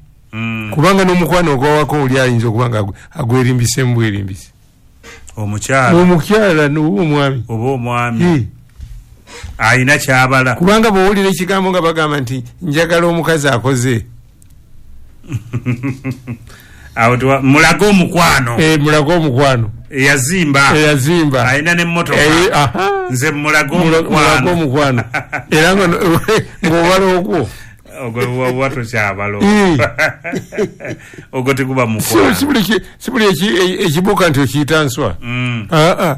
kubanga n'omukwano ogwawako oli ayinza okuba nga agwerimbisemu bwerimbise omukyala omukyala oba omwami oba omwami ayina kyabala kubanga bw'owulira ekigambo nga bagamba nti njagala omukazi akoze awo mulage omukwano eh mulage omukwano eyazimba eyazimba ayina n'emmotoka nze mulage omukwano omukwano era nga ng'obala ogwo ogwo oba tokyabala ogwo teguba mukwano si buli ekibuuka nti okiyita nswa aa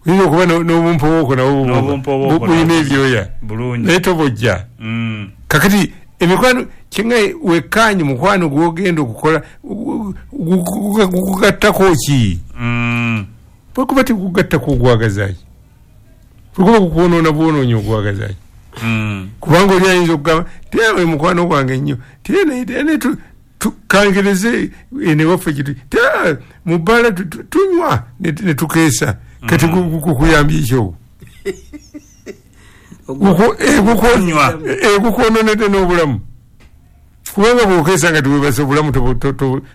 oyinza okuba n'obumpowooko nabwo bulina ebyoya naye tobojja kakati emikwano kinga wekkaanye mukwano gw'ogenda okukola gugattako ki bwekuba tegugattako ogwagazaaki bwekuba kukwonoona bwonoonyi ogwagazaaki kubanga oli ayinza okugamba tye mukwano gwange nnyo tye tukangereze enewaffe kitu tye mu bbaala tunywa ne tukeesa kati kukuyambye ekyo gukwononedde n'obulamu kubanga bw'okeesa nga tewebase obulamu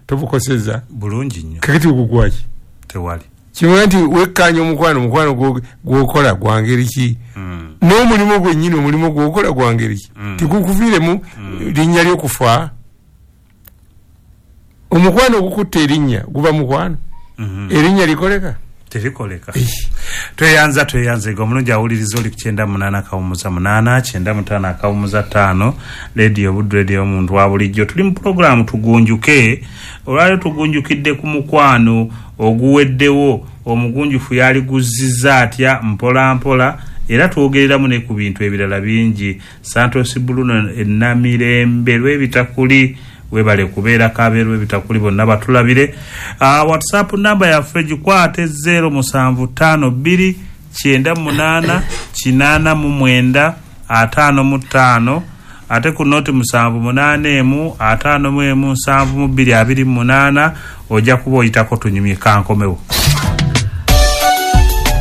tobukoseza bulungi nnyo kakati ogugwaki tewali kimwe nti wekkaanya omukwano omukwano gw'okola gwa ngeri ki n'omulimu gwennyini omulimu gw'okola gwa ngeri ki tigukuviiremu linnya ly'okufa omukwano ogukutta erinnya guba mukwano erinnya likoleka terikoleka tweyanza tweyanzega omulungi awuliriza oli ku kyenda munaana akawumuza munaana kyenda mutaano akawumuza ttaano leediyo Buddu leediyo omuntu wa bulijjo tuli mu pulogulaamu tugunjuke olwaleero tugunjukidde ku mukwano oguweddewo omugunjufu yaliguzizza atya mpola mpola era twogereramu ne ku bintu ebirala bingi Santos Bruno Enamirembe lw'ebitakuli webale kubeerako abeeru ebitakuli bonna batulabire. uh, WhatsApp namba yaffe gikwate zero musanvu ttaano bbiri kyenda munaana kinaana mu mwenda ataano mu ttaano ate ku noti musanvu munaana emu ataano mu emu nsanvu mu bbiri abiri mu munaana ojja kuba oyitako tunyumye kankomewo.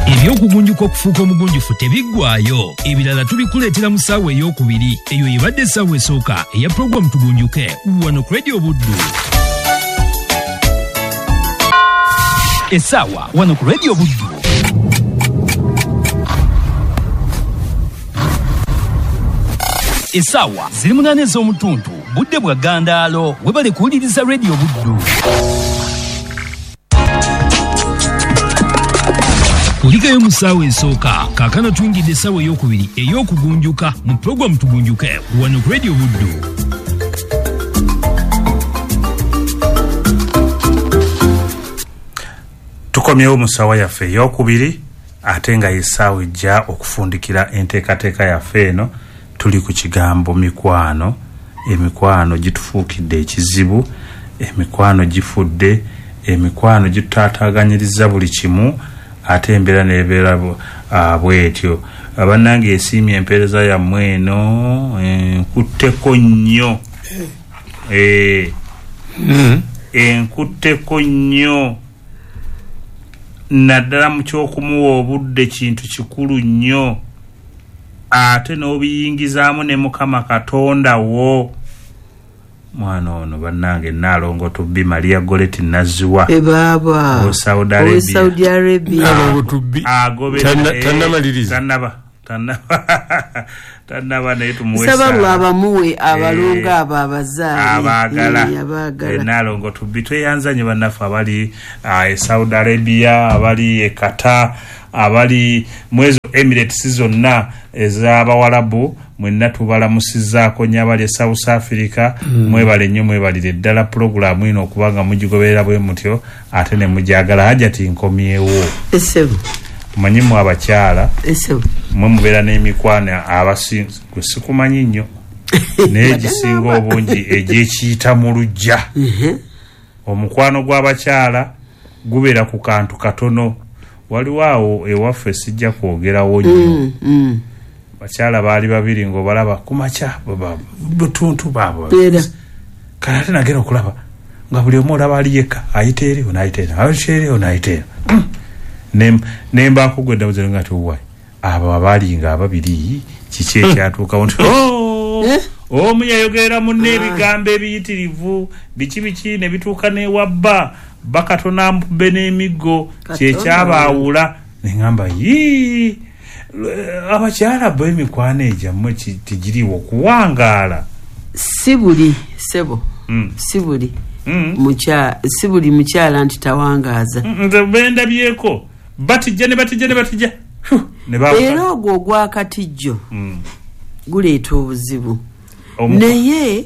Ebyokugunjuka okufuuka omugunjufu tebiggwaayo ebirala tubikuleetera mu ssaawa ey'okubiri eyo ebadde essaawa esooka eya pulogulaamu Tugunjuke wano ku Radio Buddu. Essaawa wano ku Radio Buddu essaawa ziri munaana ez'omutuntu budde bwa ggandaalo webale kuwuliriza Radio Buddu. Kulikayo mu ssaawa esooka kaakano tuyingidde essaawa ey'okubiri ey'okugunjuka mu pulogulaamu Tugunjuke wano ku Radio Buddu. Tukomyewo mu ssaawa yaffe ey'okubiri ate nga y'essaawa ejja okufundikira enteekateeka yaffe eno. Tuli ku kigambo mikwano. Emikwano gitufuukidde ekizibu, emikwano gifudde, emikwano gitutaataaganyiriza buli kimu ate embeera n'ebeera bwetyo. Bannange esiimye empeereza yammwe eno enkutteko nnyo enkutteko nnyo. Naddala mu ky'okumuwa obudde kintu kikulu nnyo, ate n'obiyingizaamu ne Mukama Katonda wo. Mwana ono bannange Nnaalongo Tubbi Maria Goretti Nazziwa ebaaba o Saudi Arabia, o Saudi Arabia. Nnaalongo Tubbi agobera tannamaliriza, tannaba tannaba tannaba, naye tumuwe nsaba Allah abamuwe abalongo abo abazaale abaagala. Abaagala. Nnaalongo Tubbi tweyanzanye bannaffe abali e Saudi Arabia, abali e Qatar, abali mu ezo Emirates zonna ez'Abawarabu, mwenna tubalamusizzaako nnyo. Abali e South Africa, mwebale nnyo, mwebalire ddala pulogulaamu eno okubanga mugigoberera bwe mutyo ate ne mugyagala. Hajati nkomyewo. Esebo omanyi mu abakyala esebo mwe mubeera n'emikwano abasinze gwe sikumanyi nnyo naye egisinga obungi egyekiyita mu luggya. Omukwano gw'abakyala gubeera ku kantu katono. Waliwo awo ewaffe sijja kwogerawo nnyo, bakyala baali babiri ng'obalaba ku makya butuntu baabwe, kale ate nagenda okulaba nga buli omu olaba ali yekka, ayita eri ono ayita eno, ayita eri ono ayita eno. Ne mbaako gwe ddabuze nga tiwayi abo abaali nga ababiri kiki ekyatuukawo nti omu yayogerera munne ebigambo ebiyitirivu biki biki ne bituuka n'ewabba bakatona mpube n'emiggo kyekyabaawula. Ne ŋŋamba yii, abakyala bo emikwano egyammwe tegiriwo kuwangaala. Si buli sebo, si buli si buli mukyala nti tawangaaza. Nze bendabyeko batijja ne batijja ne batijja era ogwo ogwakatijjo guleeta obuzibu. Naye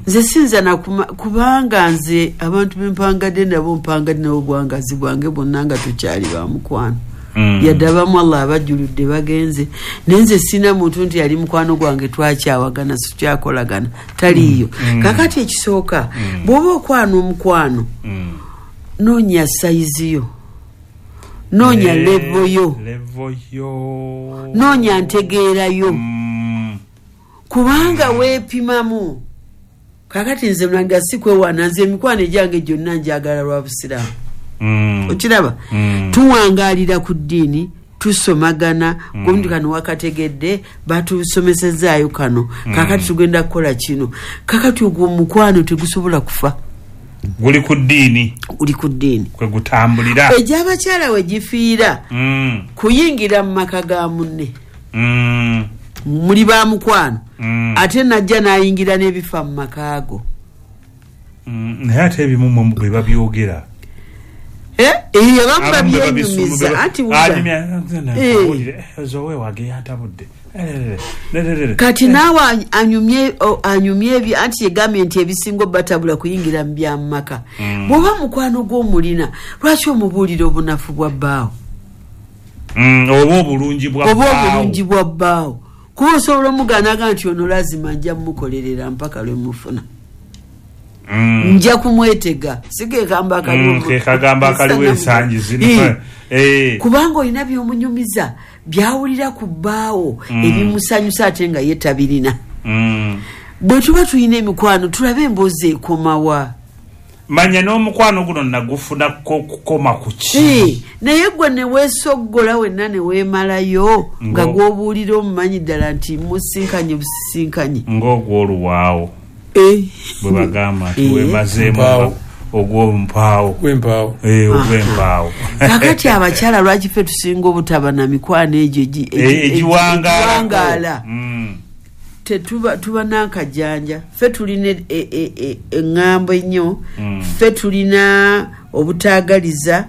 nze sinza na kubanga nze abantu bempangadde nabo mpangadde nabo obwangazi bwange bwonna nga tukyali ba mukwano. Yadde abamu Allah abajjuludde bagenze, naye nze sina muntu nti yali mukwano gwange twakyawagana sikyakolagana taliiyo. Kakati ekisooka bw'oba okwana omukwano noonya sayizi yo, noonya levo yo, noonya ntegeera yo, kubanga weepimamu. Kakati nze mulanga si kwewaana, nze emikwano egyange gyonna njagala lwa busiraamu. Okiraba tuwangaalira ku ddiini, tusomagana gundi kano wakategedde batusomesezaayo kano, kakati tugenda kukola kino. Kakati ogwo omukwano tegusobola kufa, guli ku ddiini, guli ku ddiini kwe gutambulira. Egy'abakyala we gifiira kuyingira mu maka ga munne, muli ba mukwano, ate najja n'ayingira n'ebifa mu maka ago. Naye ate ebimu mmwe bwe babyogera abamu babyenyumiza anti kati naawe anyumye anyumye ebi anti yegambye nti ebisinga obatabula kuyingira mu byamumaka. Bw'oba mukwano gw'omulina lwaki omubuulira obunafu bwa bbaawo oba obulungi bwa oba obulungi bwa bbaawo? Kuba osobola omugaanaga nti ono lazima nja mmukolerera mpaka lwe mufuna, nja kumwetega, si ke kagamba akaliwo ke kagamba akaliwo ensangi zino. Kubanga olina by'omunyumiza byawulira ku bbaawo ebimusanyusa ate nga ye tabirina. Bwe tuba tulina emikwano tulabe emboozi ekomawa. Manya n'omukwano guno nagufuna kukoma ku ki? Naye gwe ne weesoggola wenna ne weemalayo nga gw'obuulira omumanyi ddala nti musinkanye busisinkanye ng'ogw'oluwaawo bwe bagamba nti weemazeemu ogw'ompaawo ogw'empaawo ogw'empaawo. Kakati abakyala lwaki ffe tusinga obutaba na mikwano egyo egiwangaala? Tetuba tuba n'akajanja, ffe tulina eŋŋambo ennyo, ffe tulina obutaagaliza,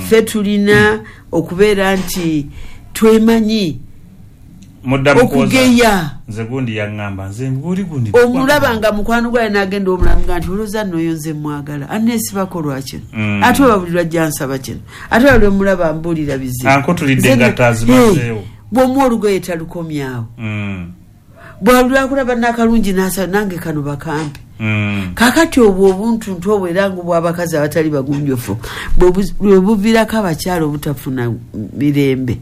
ffe tulina okubeera nti twemanyi okugeya. Nze gundi yaŋŋamba nze nguli gundi omulaba nga mukwano gwaye n'agenda omulamuga nti olowooza nno oyo nze mwagala anneesibako lwa kino, ate oba buli lwajja nsaba kino, ate oba lwe mulaba mbuulira bizibu ankutulidde nga tazimazeewo. Bw'omuwa olugoye talukomyawo, bwalwakulaba n'akalungi n'asaba nange kano bakampe. Kakati obwo obuntuntu obwo era nga obw'abakazi abatali bagunjufu bwe buviirako abakyala obutafuna mirembe.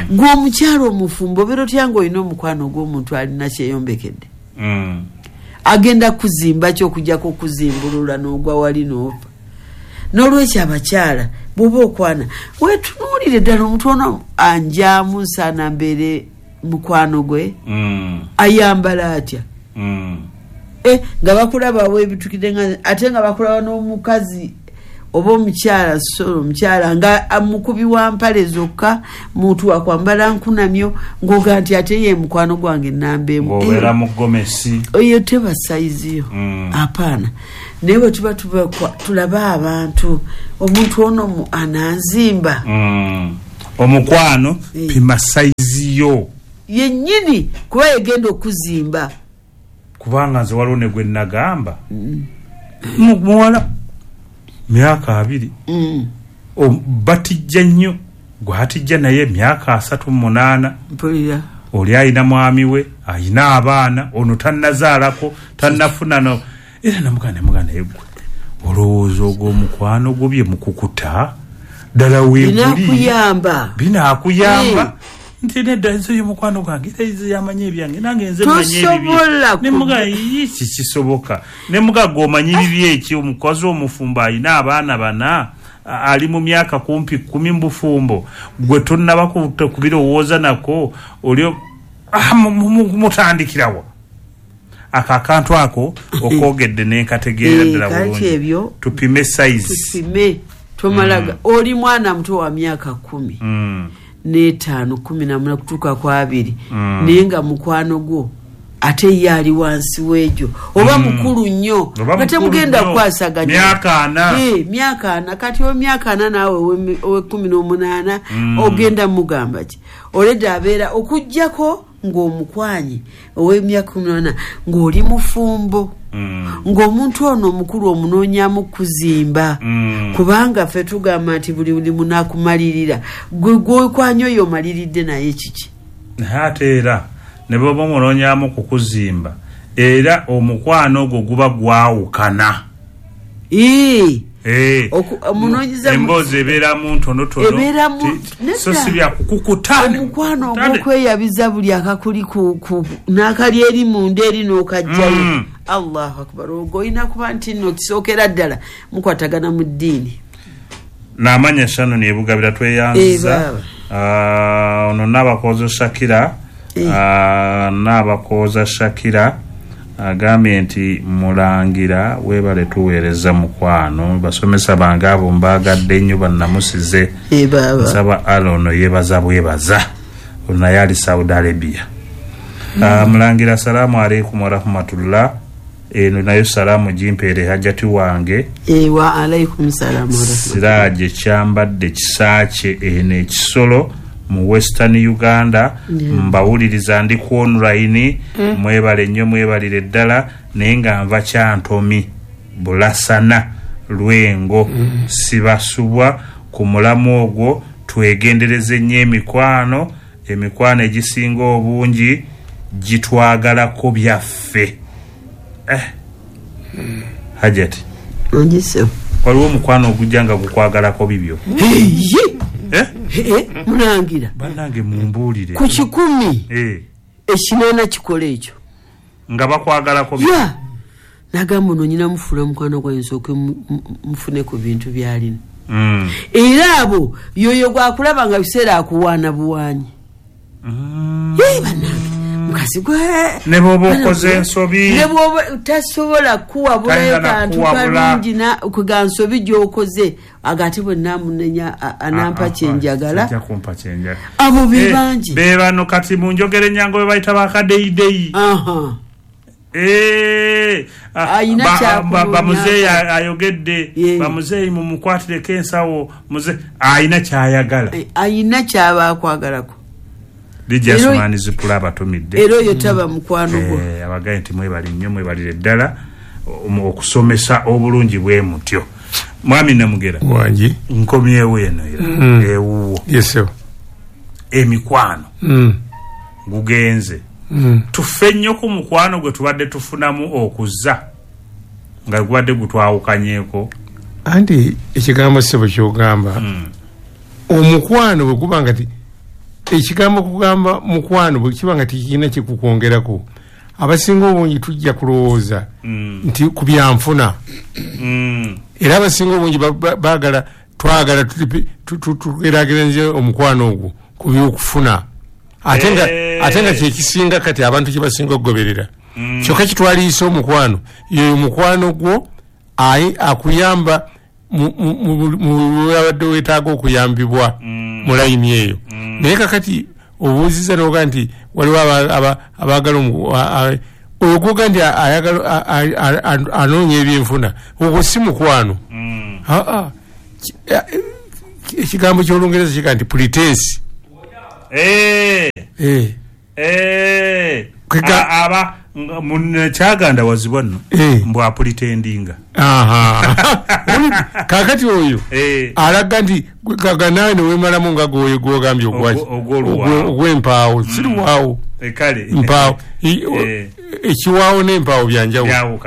Gwe omukyala omufumbo obeera otya ng'olina omukwano gw'omuntu alina kyeyombekedde? Agenda kuzimba ki okujjako okuzimbulula n'ogwa wali n'ofa? N'olwekyo abakyala Bw'oba okwana wetunuulire ddala omuntu ono anjaamu nsaana mbeere mukwano gwe. Mm. Ayambala atya? Mm. Eh, nga bakulaba weebitukidde nga ate nga bakulaba n'omukazi oba omukyala, so omukyala nga mukubi wa mpale zokka, muntu wakwambala nkunamyo, ng'oga nti ate ye mukwano gwange nnamba emu. Ng'obeera mu gomesi. Eyo teba sayizi yo. Mm. Apaana. Naye bwe tuba tulaba abantu, omuntu ono ananzimba. Mm. Omukwano e. Pima sayizi yo yennyini kuba yegenda okuzimba. Kubanga nze waliwo ne gwe nagamba mm. Muwala myaka abiri mm. Batijja nnyo, gwatijja naye myaka asatu mu munaana. Mpulira. Oli alina mwami we, alina abaana, ono tannazaalako, tannafuna no. Era namuganda namuganda naye gwe olowooza ogw'omukwano gwo bye mukukuta ddala weeguli binaakuyamba binaakuyamba mm. Nti nedda nze oyo mukwano gwange era nze yamanyi ebyange nange nze mmanyi ebibye. Ne mugamba ki kisoboka. Ne mugamba gwe omanyi bibi eki, omukazi omufumbo alina abaana bana ali mu myaka kumpi kkumi mu bufumbo, gwe tonnaba kubirowooza nako oli ah, mutandikirawo ako akantu ako okwogedde nenkategeera ddala bulungi. Tupime size, tupime tomalaga. Oli mwana muto wa myaka kumi mm. n'etaano kumi na muna kutuuka ku abiri, mm. naye nga mukwano gwo ate ye ali wansi w'egyo oba mm. mukulu nnyo nga temugenda kukwasaganya myaka ana. Eh, myaka ana. Kati myaka ana naawe ow'ekkumi n'omunaana mm. ogenda mugamba ki? Oleda abeera okuggyako ng'omukwanyi ow'emyaka kumi n'omunaana ng'oli mufumbo, mm. ng'omuntu ono omukulu omunoonyamu kuzimba, mm. kubanga ffe tugamba nti buli buli munaakumalirira gwe gwokwanya oyo omaliridde naye kiki? Ate era ne bw'oba omunoonyamu kukuzimba era omukwano ogwo guba gwawukana. Ee. Eh, emboozi ebeeramu ntonotono, so si bya kukukuta. Omukwano ogw'okweyabiza buli akakuli n'akali eri munda eri n'okajjayo. Mm. Allahu akbar. Ogwo olina kuba nti nno kisookera ddala mukwatagana mu ddiini. N'amanya Shannon ebugabira tweyanziza. Ono n'abakooza Shakira, n'abakooza Shakira agambye nti mulangira weebale tuweereza mukwano, basomesa bange abo mbaagadde nnyo bannamusize. Nsaba Allah ono yeebaza bwebaza, ono naye ali Saudi Arabia. Mm. Uh, mulangira salaamu aleikum warahmatullah. Eno nayo salaamu gimpeere hajjati wange. E, wa alaikum salaamu warahmatullah. Siraje Kyambadde Kisaakye eno ekisolo mu Western Uganda. Yeah. Mbawuliriza ndi ku online. Mm. Mwebale nnyo mwebalire ddala, naye nga nva Kyantomi Bulasana Lwengo. Mm. Sibasubwa ku mulamu ogwo twegendereze nnyo emikwano, emikwano egisinga obungi gitwagalako byaffe. Eh. Mm. Hajati. Onjise. Waliwo omukwano ogujja nga gukwagalako bibyo. Hey. Eh? Eh, mulangira. Bannange mumbuulire. Ku kikumi. Eh. Ekinaana kikola ekyo. Nga bakwagalako bibyo. Yeah. Nagamba ono nnyina mufuula mukwano gwange nsooke mufune ku bintu by'alina. Mm. Era abo yoyo gwakulaba nga biseera akuwaana buwaanyi. Mm. Yee bannange. Mukazi gwe ne bw'oba okoze ensobi, ne bw'oba tasobola kuwabulayo kantu kalungi kuga nsobi gy'okoze, agate bwe naamunenya anampa kyenjagala. Abo be bangi be bano kati mu njogera ennyangu be bayita bakadeyideyi. Bamuzeeyi ayogedde, bamuzeeyi mumukwatireko ensawo, ayina kyayagala, ayina kyaba akwagalako. Lijja Asumani Zipula abatumidde. Era oyo taba mukwano gwo. Eh, abagaye nti mwebale nnyo mwebalire ddala okusomesa obulungi bwe mutyo. Mwami Namugera. Wangi. Nkomyewo eno era. Mm. Ewuwo. Yes sir. Emikwano. Mm. Gugenze. Mm. Tufe nnyo ku mukwano gwe tubadde tufunamu okuzza nga gubadde gutwawukanyeeko. Anti ekigambo ssebo ky'ogamba. Mm. Omukwano bwe guba nga ti ekigambo kugamba mukwano bwe kiba nga tekirina kikukwongerako, abasinga obungi tujja kulowooza mm. nti ku byanfuna. Mm. Era abasinga obungi baagala twagala tugeraageranye omukwano ogwo ku byokufuna ate nga ate nga kyekisinga kati abantu kye basinga okugoberera. Kyokka kitwaliisa omukwano yeyo mukwano gwo ayi akuyamba mu abadde weetaaga okuyambibwa mu layini eyo. Naye kakati obuuziza n'oga nti waliwo abaagala oyo gwoga nti anoonya ebyenfuna, ogwo si mukwano. Aa ekigambo ky'Olungereza kiga nti pretense. Aba kyaganda wazibwa nno mbu apretendinga. Kakati oyo alaga nti kaga nawe newemalamu nga gwoyo gwogambye ogwaki ogw'empaawo siriwaawo mpaawo ekiwaawo n'empaawo byanjawulo.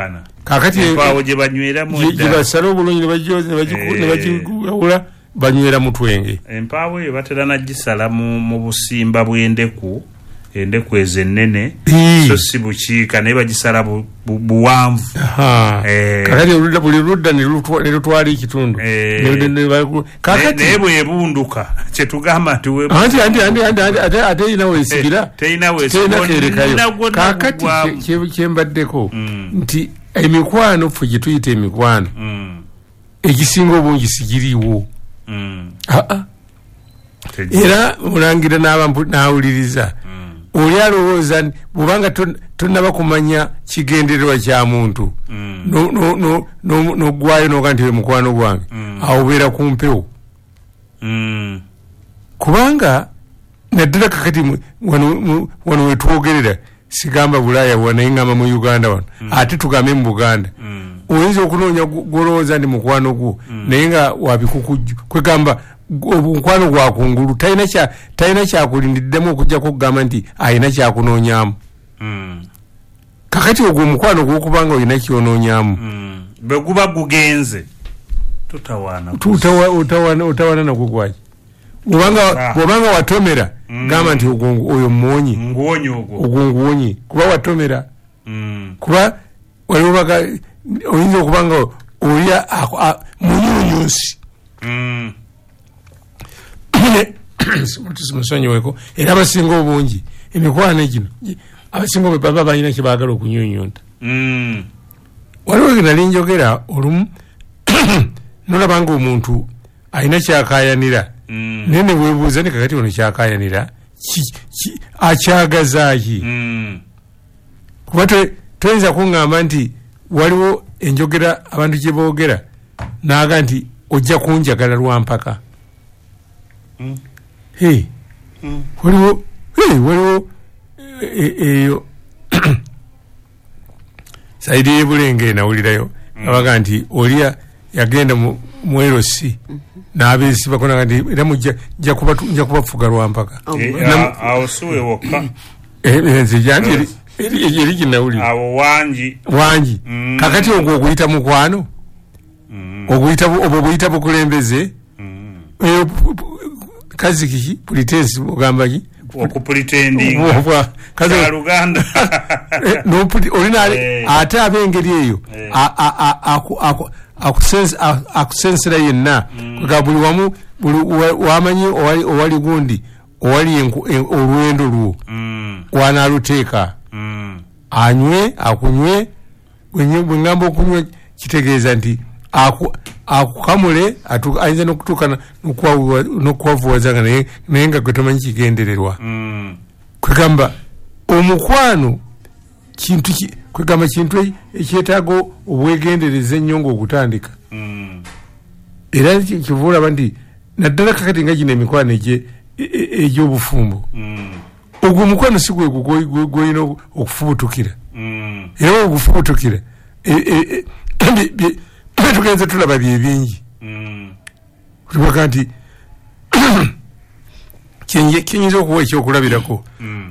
Kakati empaawo gye banyweramu gye basala obulungi ne bagyoza ne bagigawula banywera mu twenge. Empaawo eyo batera nagisala mu busimba bw'endeku, endeku ezo ennene so si bukiika naye bagisala buwanvu. Kakati buli ludda ne lutwala ekitundu naye bwebunduka kyetugamba nti anti anti anti anti ate erina weesigira terina weesigira. Kakati kyembaddeko nti emikwano ffe gye tuyita emikwano egisinga obungi sigiriiwo. Aa era mulangira n'awuliriza oli alowooza bw'obanga tonnaba kumanya kigendererwa kya muntu n'oggwayo n'oga nti mukwano gwange awo obeera ku mpewo. Kubanga naddala kakati wano wetwogerera sigamba Bulaaya naye ngamba mu Uganda wano ate tugambe mu Buganda oyinza okunoonya gw'olowooza nti mukwano gwo naye nga wabikukujju kwegamba omukwano gwa kungulu talina kya talina kyakulindiddemu okujjako okugamba nti alina kyakunoonyaamu. Kakati ogwo omukwano gw'okubanga olina kyonoonyaamu bwe guba gugenze tutawaana otawaana nagwo gwaki bw'obanga watomera gamba nti oyo muwonye ogwo nguwonye kuba watomera kuba waliwo baga oyinza okuba nga oli munyunyunsi musonyiweko. Era abasinga obungi emikwano gino abasinga obwe baba balina kye baagala okunyunyunta. Waliwo nali njogera olumu nolaba nga omuntu alina kyakaayanira naye ne weebuuza ne kakati ono kyakaayanira akyagazaaki? Kuba toyinza kuŋŋamba nti waliwo enjogera abantu gye boogera n'aga nti ojja kunjagala lwa mpaka. Waliwo waliwo eyo saidi y'Ebulenge nawulirayo abaga nti oli yagenda mu L C n'abeesibako naga nti era nja kubafuga lwa mpaka. Awo si we wokka. Nze janti eri ginawulira awo wangi wangi. Kakati ogwo oguyita mukwano obwo buyita bukulembeze kazi kiki pretense ogamba ki okupretendinga kazi Luganda no olina ate ab'engeri eyo akusensera yenna nga buli wamu buli wamanyi owali gundi owali olwendo lwo wanaaluteeka anywe akunywe bwe ngamba okunywa kitegeeza nti akukamule ayinza n'okutuuka n'okwavuwaza nga naye nga gwe tomanyi kigendererwa. Kwegamba omukwano kintu kwegamba kintu ekyetaaga obwegendereza ennyo ng'ogutandika. Era kiva olaba nti naddala kakati nga gino emikwano egy'obufumbo ogwo omukwano si gwe gw'olina okufubutukira. Era ogufubutukira tugenze tulaba bye bingi. Tubaga nti kiyinza okuwa ekyokulabirako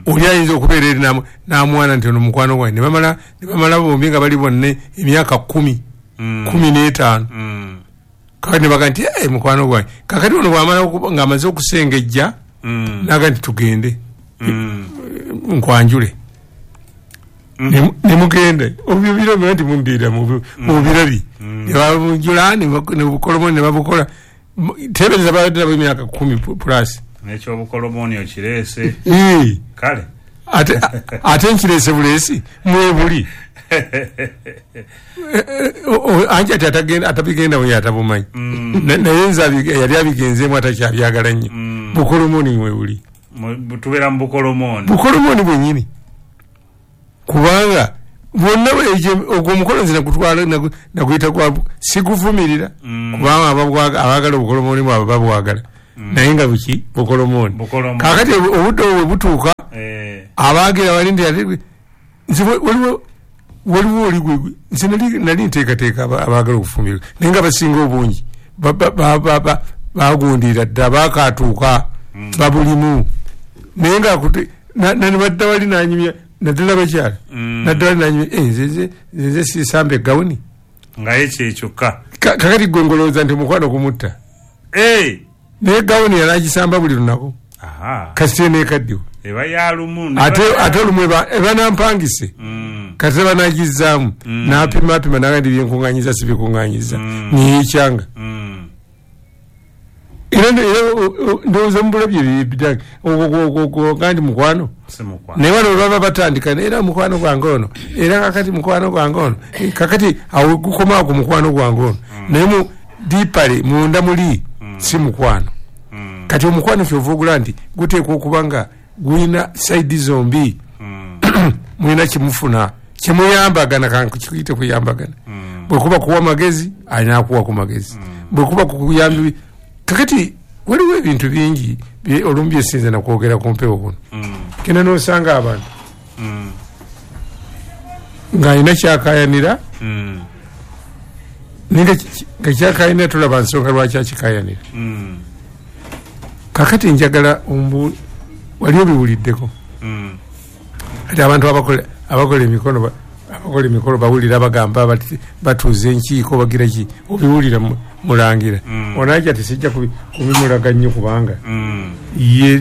oli ayinza okubeera eri n'amwana nti ono mukwano gwange ne bamala ne bamala bombi nga bali bonna emyaka kkumi kkumi n'etaano kakati ne baga nti ee mukwano gwange kakati ono bw'amala ng'amaze okusengejja n'aga nti tugende nkwanjule ne mugenda obyo biro nti mumbiira mu birabi ne babunjula ne bukolomo ne babukola Tebereza babadde nabo emyaka kumi plus. N'ekyobukolomoni okireese. Kale ate ate nkireese buleesi mwebuli. Anti ati atagenda atabigenda we atabumanyi. Naye nze yali abigenzeemu atakyabyagala nnyo. Bukolomoni mwebuli. Tubeera mu bukolomoni. Bukolomoni bwennyini. Kubanga bonna ogwo omukolo nze nagutwala naguyita gwa siguvumirira. Kubanga abaagala obukolomoni bwabwe babwagala. Naye nga buki bukolomoni. Kaakati obudde obwo bwe butuuka abaagira bali nti nze waliwo waliwo oli gwe nze nali nteekateeka abaagala okufumbirwa naye nga basinga obungi bagundira dda baakaatuuka babulimu naye nga nabadda wali nanyumya naddala bakyala naddala wali nanyumya nze nze sisamba eggawuni nga ye kyekyokka. Kakati gwe ngolowooza nti omukwano gumutta naye gawuni yali agisamba buli lunaku kasita neekaddiwa eba yalumu ate ate olumu eba nampangise kati eba nagizzaamu n'apima apima n'agamba byenkuŋŋaanyiza si bikuŋŋaanyiza neyekyanga. Era ndowooza mubulabye ogwo ndi mukwano naye wano bwe baba batandika era mukwano gwange ono era kakati mukwano gwange ono kakati awo gukomawo ku mukwano gwange ono naye mu diipale munda muli si mukwano. Kati omukwano kyova ogula nti guteekwa okuba nga gulina saidi zombi mulina kimufuna kimuyambagana kankiyite kuyambagana. Bwe kuba kuwa magezi alina akuwa ku magezi, bwe kuba kukuyamba. Kakati waliwo ebintu bingi olumu byesinza nakwogera ku mpewo kuno. Kena n'osanga abantu ng'alina kyakayanira naye nga kyakayanira tolaba nsonga lwaki akikayanira. Kakati njagala ombu wali obiwuliddeko kati abantu abakola abakola emikono abakola emikolo bawulira bagamba batuuza enkiiko bagira ki obiwulira mulangira. Onajja tisijja kubimulaga nnyo kubanga ye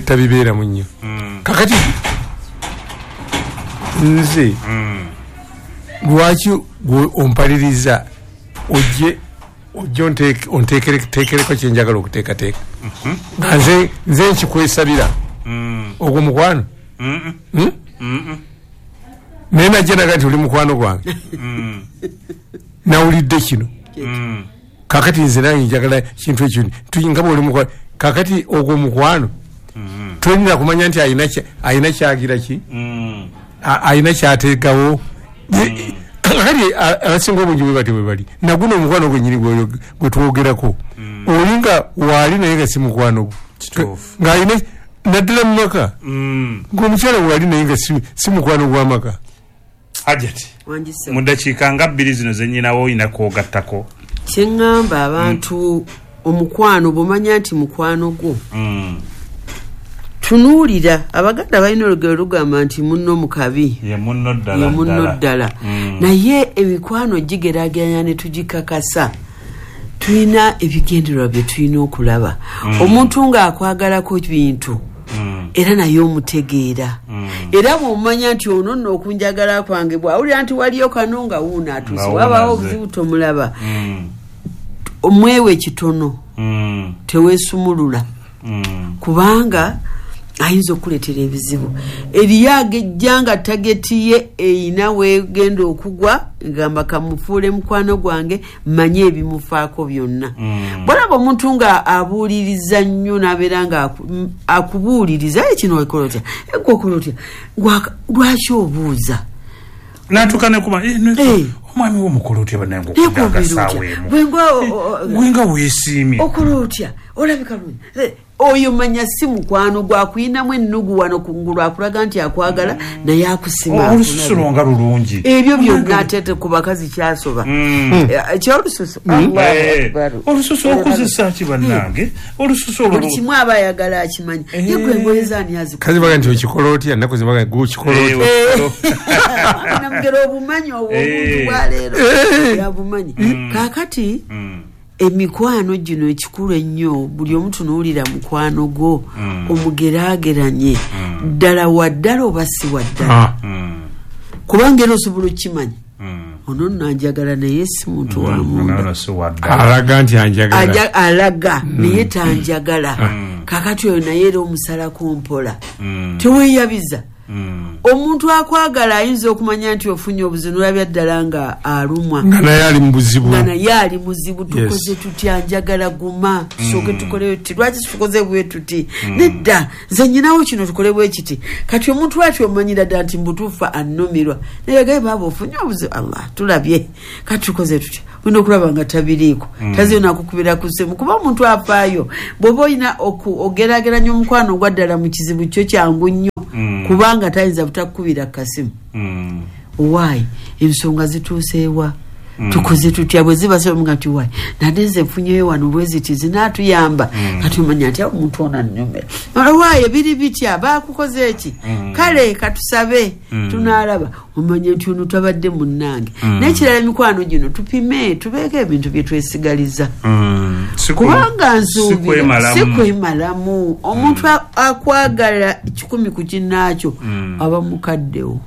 tabibeeramu nnyo. Kakati nze lwaki gwe ompaliriza ojje ojje onteekereko kyenjagala okuteekateeka nga nze nze nkikwesabira ogwo mukwano naye najja naga nti oli mukwano gwange nawulidde kino kakati nze nange njagala kintu ekyo nga bwoli mukwano kakati ogwo mukwano tolina kumanya nti alina kyagira ki alina kyateekawo. Kakati abasinga obungi bwe bati bwe bali naguno omukwano gwennyini gwe twogerako oli nga waali naye nga si mukwano gwo ng'alina naddala mu maka ng'omukyala waali naye nga si mukwano gw'amaka. Hajati mu ddakiika nga bbiri zino ze nnyinawo olina kwogattako. Kye ŋŋamba abantu omukwano bw'omanya nti mukwano gwo tunuulira. Abaganda balina olugero lugamba nti munno mu kabi ye munno ddala munno ddala. Naye emikwano gigeraageranya ne tugikakasa. Tulina ebigendererwa bye tulina okulaba. Omuntu ng'akwagalako bintu era naye omutegeera. Era bw'omanya nti ono nno okunjagala kwange bw'awulira nti waliyo kano nga wuuno atuuse wabaawo obuzibu tomulaba. Omwewe kitono teweesumulula kubanga ayinza okuleetera ebizibu. Eriyo agejja nga tageti ye eyina weegenda okugwa ngamba kamufuule mukwano gwange mmanye ebimufaako byonna. Bw'olaba omuntu nga abuuliriza nnyo n'abeera nga akubuuliriza kino okola otya gwe okola otya lwaki obuuza n'atuuka ne kuba omwami wo omukola otya bannange okudda agasaawa emu gwe nga weesiimye okola otya olabika bulungi oyo manya si mukwano gwakuyinamu ennugu wano kungulu akulaga nti akwagala naye akusima olususu lwo nga lulungi ebyo byonna ate ku bakazi kyasoba ekyolususu olususu okozesa ki bannange olususu olwo buli kimu aba ayagala akimanyi ye gwe engoye zaani azikola kazi baga nti okikola otya ennaku zibaga gwe okikola otya namugera obumanyi obwo obuntu bwa leero yabumanyi. Kaakati emikwano gino ekikulu ennyo buli omu tunuulira mukwano gwo omugeraageranye ddala wa ddala oba si wa ddala kubanga era osobola okukimanya. Ono nno anjagala naye si muntu wa munda. Alaga nti anjagala. Alaga naye tanjagala. Kakati oyo naye era omusalako mpola. Teweeyabiza. Omuntu akwagala ayinza okumanya nti ofunye obuzibu nolabya ddala nga alumwa, nga naye ali mu buzibu, nga naye ali muzibu. Tukoze tutya? Njagala guma, tusooke tukoleyo tuti, lwaki tukoze bwe tuti? Nedda, nze nyinawo kino, tukole bwe kiti. Kati omuntu ati omanyira ddala nti mbutuufu annumirwa, naye gaye baaba ofunye obuzibu, Allah tulabye, kati tukoze tutya? Olina okulaba nga tabiriiko, taziyo nakukubira ku ssimu, kuba omuntu afaayo. Bw'oba olina ogeraageranya omukwano ogwa ddala mu kizibu kyo kyangu nnyo, kubanga tayinza butakukubira kasimu. Owaayi ensonga zituuseewa, tukoze tutya? Bwe ziba somuga nti waayi nade nze nfunyeyo wano bwe ziti zinaatuyamba, kati omanya nti omuntu ono annyumira. Owaayi biri bitya, baakukoze eki? Kale katusabe tunaalaba. Omanya nti ono tabadde munnange. N'ekirala, emikwano gino tupime, tubeeko ebintu bye twesigaliza, kubanga nsuubira si kwemalamu. Omuntu akwagala kikumi ku kinnaakyo aba mukaddewo.